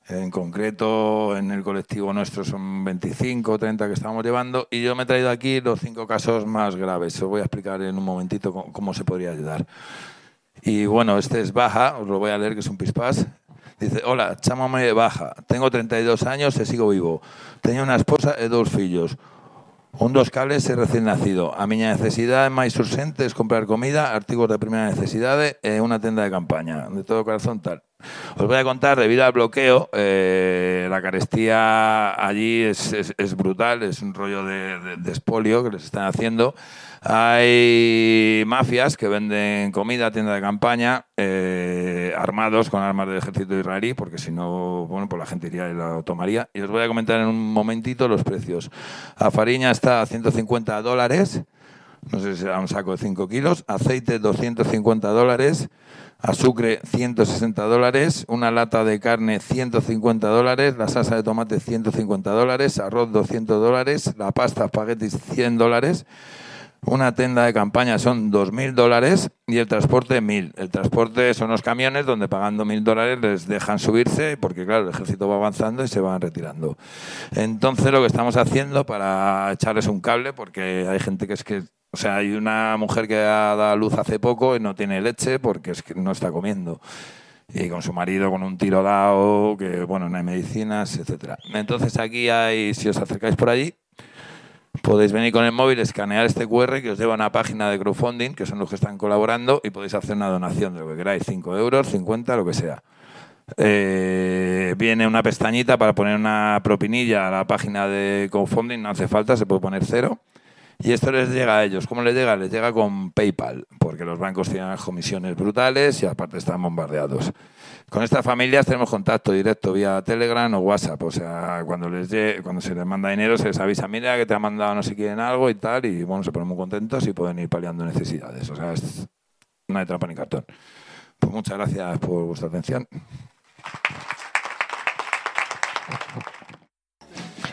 En concreto, en el colectivo nuestro son 25 o 30 que estamos llevando y yo me he traído aquí los 5 casos más graves. Os voy a explicar en un momentito cómo se podría ayudar. Y bueno, este es Baja, os lo voy a leer, que es un pispás. Dice, hola, chámame Baja, tengo 32 años e sigo vivo. Teño unha esposa e 2 fillos. Un dos cables e recién nacido. A miña necesidade máis urxente é comprar comida, artigos de primeira necesidade e unha tenda de campaña. De todo corazón, tal. Os voy a contar, debido al bloqueo, la carestía allí es brutal, es un rollo de expolio que les están haciendo. Hay mafias que venden comida, tienda de campaña, armados con armas del ejército israelí, porque si no, bueno, pues la gente iría y la tomaría. Y os voy a comentar en un momentito los precios. A fariña está a $150, no sé si será un saco de 5 kilos, aceite $250, azúcar $160, una lata de carne $150, la salsa de tomate $150, arroz $200, la pasta espaguetis $100, una tenda de campaña son $2.000 y el transporte $1.000. El transporte son los camiones donde pagando $1.000 les dejan subirse porque claro, el ejército va avanzando y se van retirando. Entonces lo que estamos haciendo para echarles un cable, porque hay gente que es que, o sea, hay una mujer que ha dado a luz hace poco y no tiene leche porque es que no está comiendo. Y con su marido con un tiro dado, que bueno, no hay medicinas, etcétera. Entonces aquí hay, si os acercáis por allí, podéis venir con el móvil, escanear este QR que os lleva a una página de crowdfunding, que son los que están colaborando, y podéis hacer una donación de lo que queráis, 5 euros, 50, lo que sea. Viene una pestañita para poner una propinilla a la página de crowdfunding, no hace falta, se puede poner 0. Y esto les llega a ellos. ¿Cómo les llega? Les llega con PayPal, porque los bancos tienen unas comisiones brutales y aparte están bombardeados. Con estas familias tenemos contacto directo vía Telegram o WhatsApp. O sea, cuando se les manda dinero se les avisa, mira que te ha mandado no sé quién algo y tal, y bueno, se ponen muy contentos y pueden ir paliando necesidades. O sea, no hay trampa ni cartón. Pues muchas gracias por vuestra atención.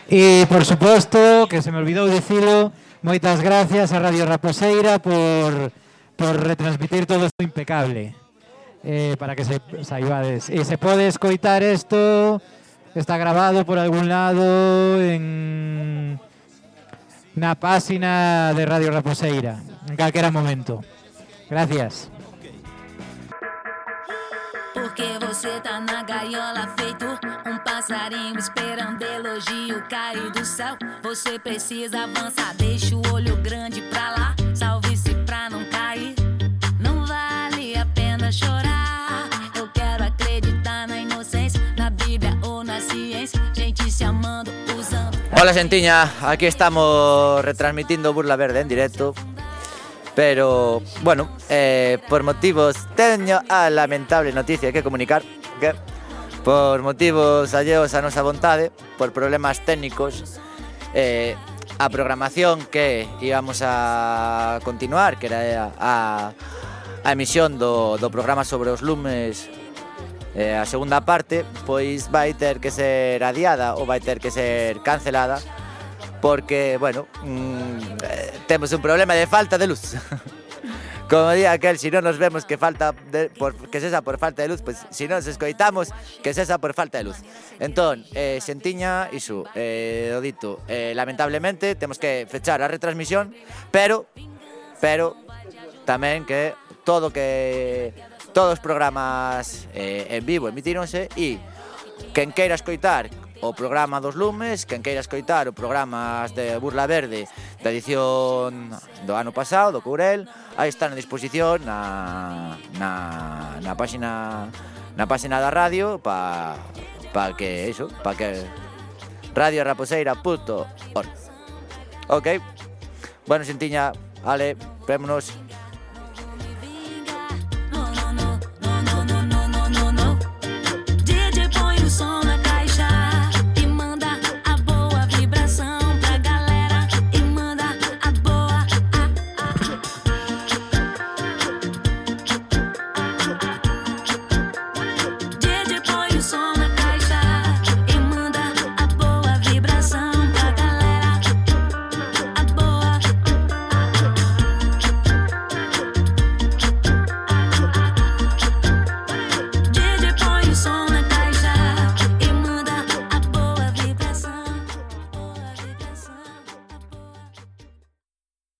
E, por suposto, que se me olvidou dicilo, moitas gracias a Radio Raposeira por retransmitir todo isto impecable. Para que se saibades. E se pode escoitar isto, está grabado por algún lado na páxina de Radio Raposeira, en calquera momento. Gracias. Porque você tá na gaiola feito passarinho esperando elogio cair do céu. Você precisa avançar, deixa o olho grande pra lá. Salve-se pra não cair. Não vale a pena chorar. Eu quero acreditar na inocência, na Bíblia ou na ciência. Gente se amando, usando. Hola, Xentiña, aquí estamos retransmitiendo Burla Verde en directo. Pero, bueno, por motivos, teño a lamentable noticia que comunicar que por motivos alleos a nosa vontade, por problemas técnicos, a programación que íbamos a continuar, que era a emisión do programa sobre os lumes, a segunda parte, pois vai ter que ser adiada ou vai ter que ser cancelada, porque, bueno, temos un problema de falta de luz. Como di aquel, si non nos vemos que cesa por falta de luz, pues si non nos escoitamos que cesa por falta de luz. Entón, Xentiña, iso, o dito, lamentablemente temos que fechar a retransmisión, pero tamén que todos os programas en vivo emitíronse e quen queira escoitar o programa dos lumes, quen queira escoitar o programa de Burla Verde da edición do ano pasado, do Courel, aí está na disposición na páxina da radio para que radioraposeira.org. Ok? Bueno, Xentiña, ale, vémonos.